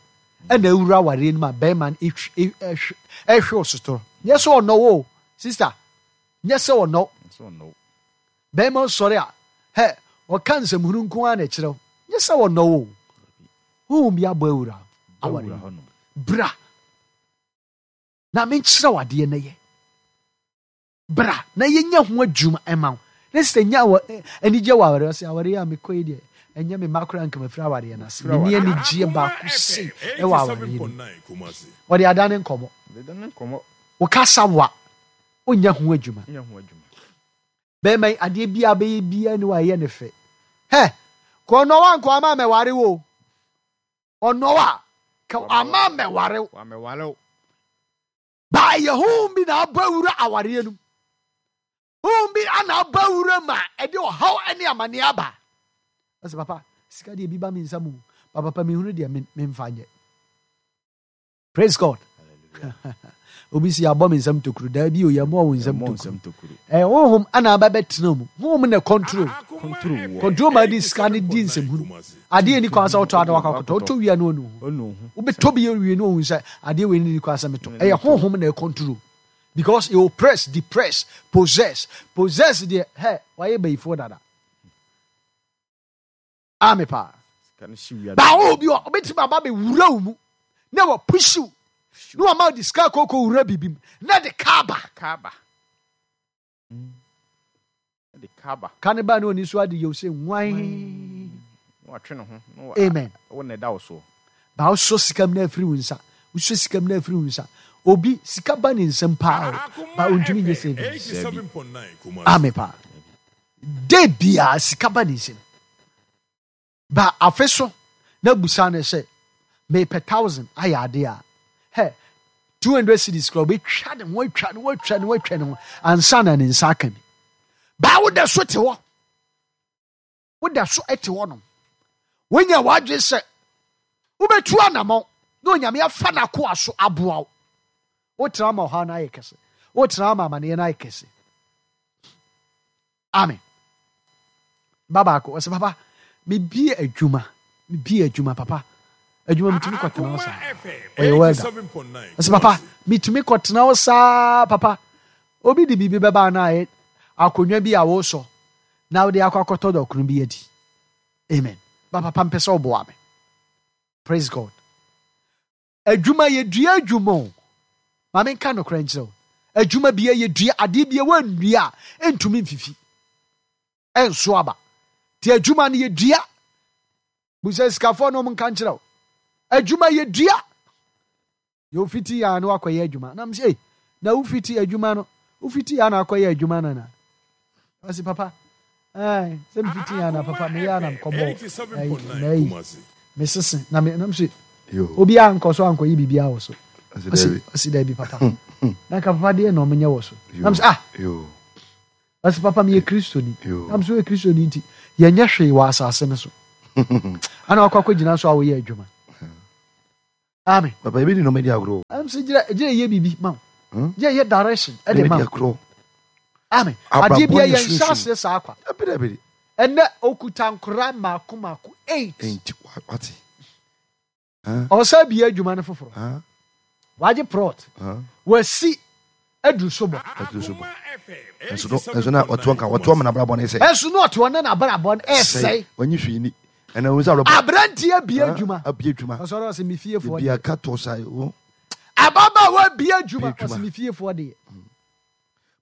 ɛna awura awareɛ no mu a bɛrima no ɛhw- ɛhw- ɛhwɛ wo sotoro. Nyɛ sɛ ɔnɔ wo o, sister. Nyɛ sɛ ɔnɔ wo. Sɛ ɔnɔ wo. Bɛrima sɔre a hɛ ɔka nsɛmhunu nko ara na ɛkyerɛ wo. Nyɛ sɛ ɔnɔ wo o. Honhom bi abɔ awura awareɛ Awura mu. hɔnom. Bra na menkyerɛ wo adeɛ na yɛ. Bra na yɛnyɛ ho adwuma ɛma wo. Ne sɛ nya wɔ ɛ- anigye wɔ awareɛ ɔsɛ awareɛ a mekɔ yi deɛ ɛnyɛ me mma koraa nka mafiri awareɛ no ase. Menni anigyeɛ baako sei ɛwɔ awareɛ no mu. Ɔde ada ne nkɔmmɔ. Deda ne nkɔmmɔ. Wo kasa wa wonyɛ ho adwuma. Nyɛ ho adwuma. Bɛrima yi adeɛ biara bɛyɛ biara ne wayɛ ne fɛ. Hɛ kɔ ɔnɔ wa nkɔ ama mɛware wo. Ɔnɔ wa ka ama mɛware wo. Wamɛware wo. Ba ɛyɛ honhom bi na abɔ awura awareɛ no mu. Honhom bi ana abɔ awura mu a ɛde ɔhaw ne amanneɛ aba. Ɔsɛ papa sika deɛ bi ba me nsa mu. Ba papa mehunu deɛ men- memfa nyɛ. Praise God. Obi si abɔ me nsam tokuro. Daabi o yɛmmɔ wo nsam Ɛmmɔ tokuro. nsɛm tokuro. Ɛyɛ honhom ana aba bɛtena mu. Honhom na control. Control wɔ. Control ma de sika ne di nsɛmhunu. Adeɛ ni kwan sɛ wotɔ ade wakɔ akɔtɔ. Wotɔ wia no ɔnu ho. Ɔnu ho. Wobɛtɔ bi wie no ohun sɛ adeɛ wei ni kwan sɛ metɔ. Ɛyɛ honhom na control. Because it oppress, depress, possess. Possess deɛ hɛ wayɛ bayifoɔ dada. Ame paa. Sika no hye wia. Ba wo obi a ɔbɛtumi aba bɛwura wo mu na wapush wo na wama wo de sika kɔkɔ wura biribi mu na de ka aba. Kaba. De kaba. Ka ne ba ne oni so ade yɛ wo sɛ nwan. Na watwe ne ho. Na wa- Amen. Wo na ɛda wo soɔ. Ba wosɔ sika mu na afiri wo nsa. Wosɔ sika mu na afiri wo nsa. Obi sika ba ne nsam paa o. Ba ontumi nyɛ savings. Ame paa. De bia sika ba ne nsam. Ba afe so na busa ne sɛ mepɛ thousand ayɛ ade a hɛ two hundred cedis kora obɛtwa ne ho atwa ne ho atwa ne ho atwa ne ho ansa na ne nsa aka bi. Ba woda so te hɔ. Woda so te hɔ nom. Wonya w'adwene sɛ wobɛtu anammɔn na Onyame afa n'akoa so aboa wo. Wotena ma ɔhaw no ayɛ kɛse. Wotena ma amanneɛ no ayɛ kɛse. Amen. Ba baako ɔsɛ papa mebie adwuma mebie adwuma papa adwuma metumi kɔtena hɔ saa. Ɔyɛ welder. Ɔsɛ papa metumi kɔtena hɔ saa papa obi de biribi bɛba na ayɛ akonnwa bi a wosɔ na wode akɔ akɔtɔ dɔkono bi adi. Amen. Ba papa mpɛ sɛ ɔboa me. Praise God. Adwuma yɛdua adwuma o. Ma menka nokorɛ nkyerɛ wo. Adwuma bia yɛdua adeɛ bia woannua a ɛntumi mfifi. Ɛnso aba. Nti adwuma no yɛdua. Busa sikafoɔ no ɔmo nka nkyerɛ wo. Adwuma yɛdua. Yɛ wofiti yɛ a na wakɔyɛ adwuma. Na mesɛ, "Ei, na wofiti adwuma no, wofiti yɛ a na akɔyɛ adwuma no na?" Ɔse papa, ɛɛ, sɛ mefiti yɛ a na papa meyɛ a na mekɔbɔ ɛyi, mesese na me na mesɛ Yo. obiara nkɔ so ankɔyɛ biribiara wɔ so. Ɔse Ɔse daabi. ɔse daabi papa. Na nka papa deɛ na ɔmo nyɛ wɔ so. Yo. Na mesɛ ah, Yo. Ɔsɛ papa meyɛ Kristoni. Yo. Nam so yɛ Kristoni nti yɛnyɛ hwee wɔ asase no so. Ana wakɔ akɔgyina so a woyɛ adwuma. Amen. Papa ebi di nneɛma di agorɔ. Ɛm sɛ gyina gyina yɛ biribi ma wo. Hmm? Gyina yɛ direction ɛde Ebi ma di wo. agorɔ. Amen. Abrabɔ Adeɛ bia ne yɛnhyɛ sunsum. aseɛ saa kwa. Dabi dabi. Ɛnɛ okuta nkora mmaako mmaako eight. Enti wa- wate. Ɔsɛ bia adwuma no foforɔ. Ah, Wagye plot. ah. Wasi aduru so bɔ. Aduru so bɔ. Ɛnso no ɛnso na ɔtoɔ nka ɔtoɔ mena abrabɔ ne sɛ. Ɛnso no ɔte hɔ ne n'abrabɔ no ɛsɛe. Wɔnyi hwee ni. Ɛna wɔn sɛ abrabɔ. Aberanteɛ bia adwuma. Abie adwuma. Ɔsɔre ɔsɛ me fiefoɔ Ebi deɛ. aka tɔ sa o. Ababaawa bia adwuma Bie adwuma. ɔsɛ me fiefoɔ deɛ.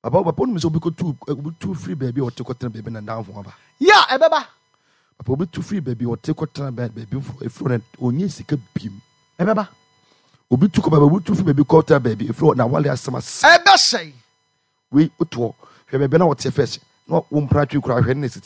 Papa papa onim sɛ obi kɔtu obi tu firi baabi a ɔte kɔtena baabi na ndanfo aba. Yɛ a ɛbɛba. Papa obi tu firi baabi a ɔte kɔtena baabi foforɔ efiri hɔ na onye sika biem. Ɛbɛba. Obi tu kɔ baabi obi tu firi baabi kɔtena baabi efiri hɔ na awale asɛm asɛ. Ɛbɛsɛe. Wei otoɔ hwɛ baabi na ɔte fɛs na wɔn mpena twi kura hwɛ ne ne siti.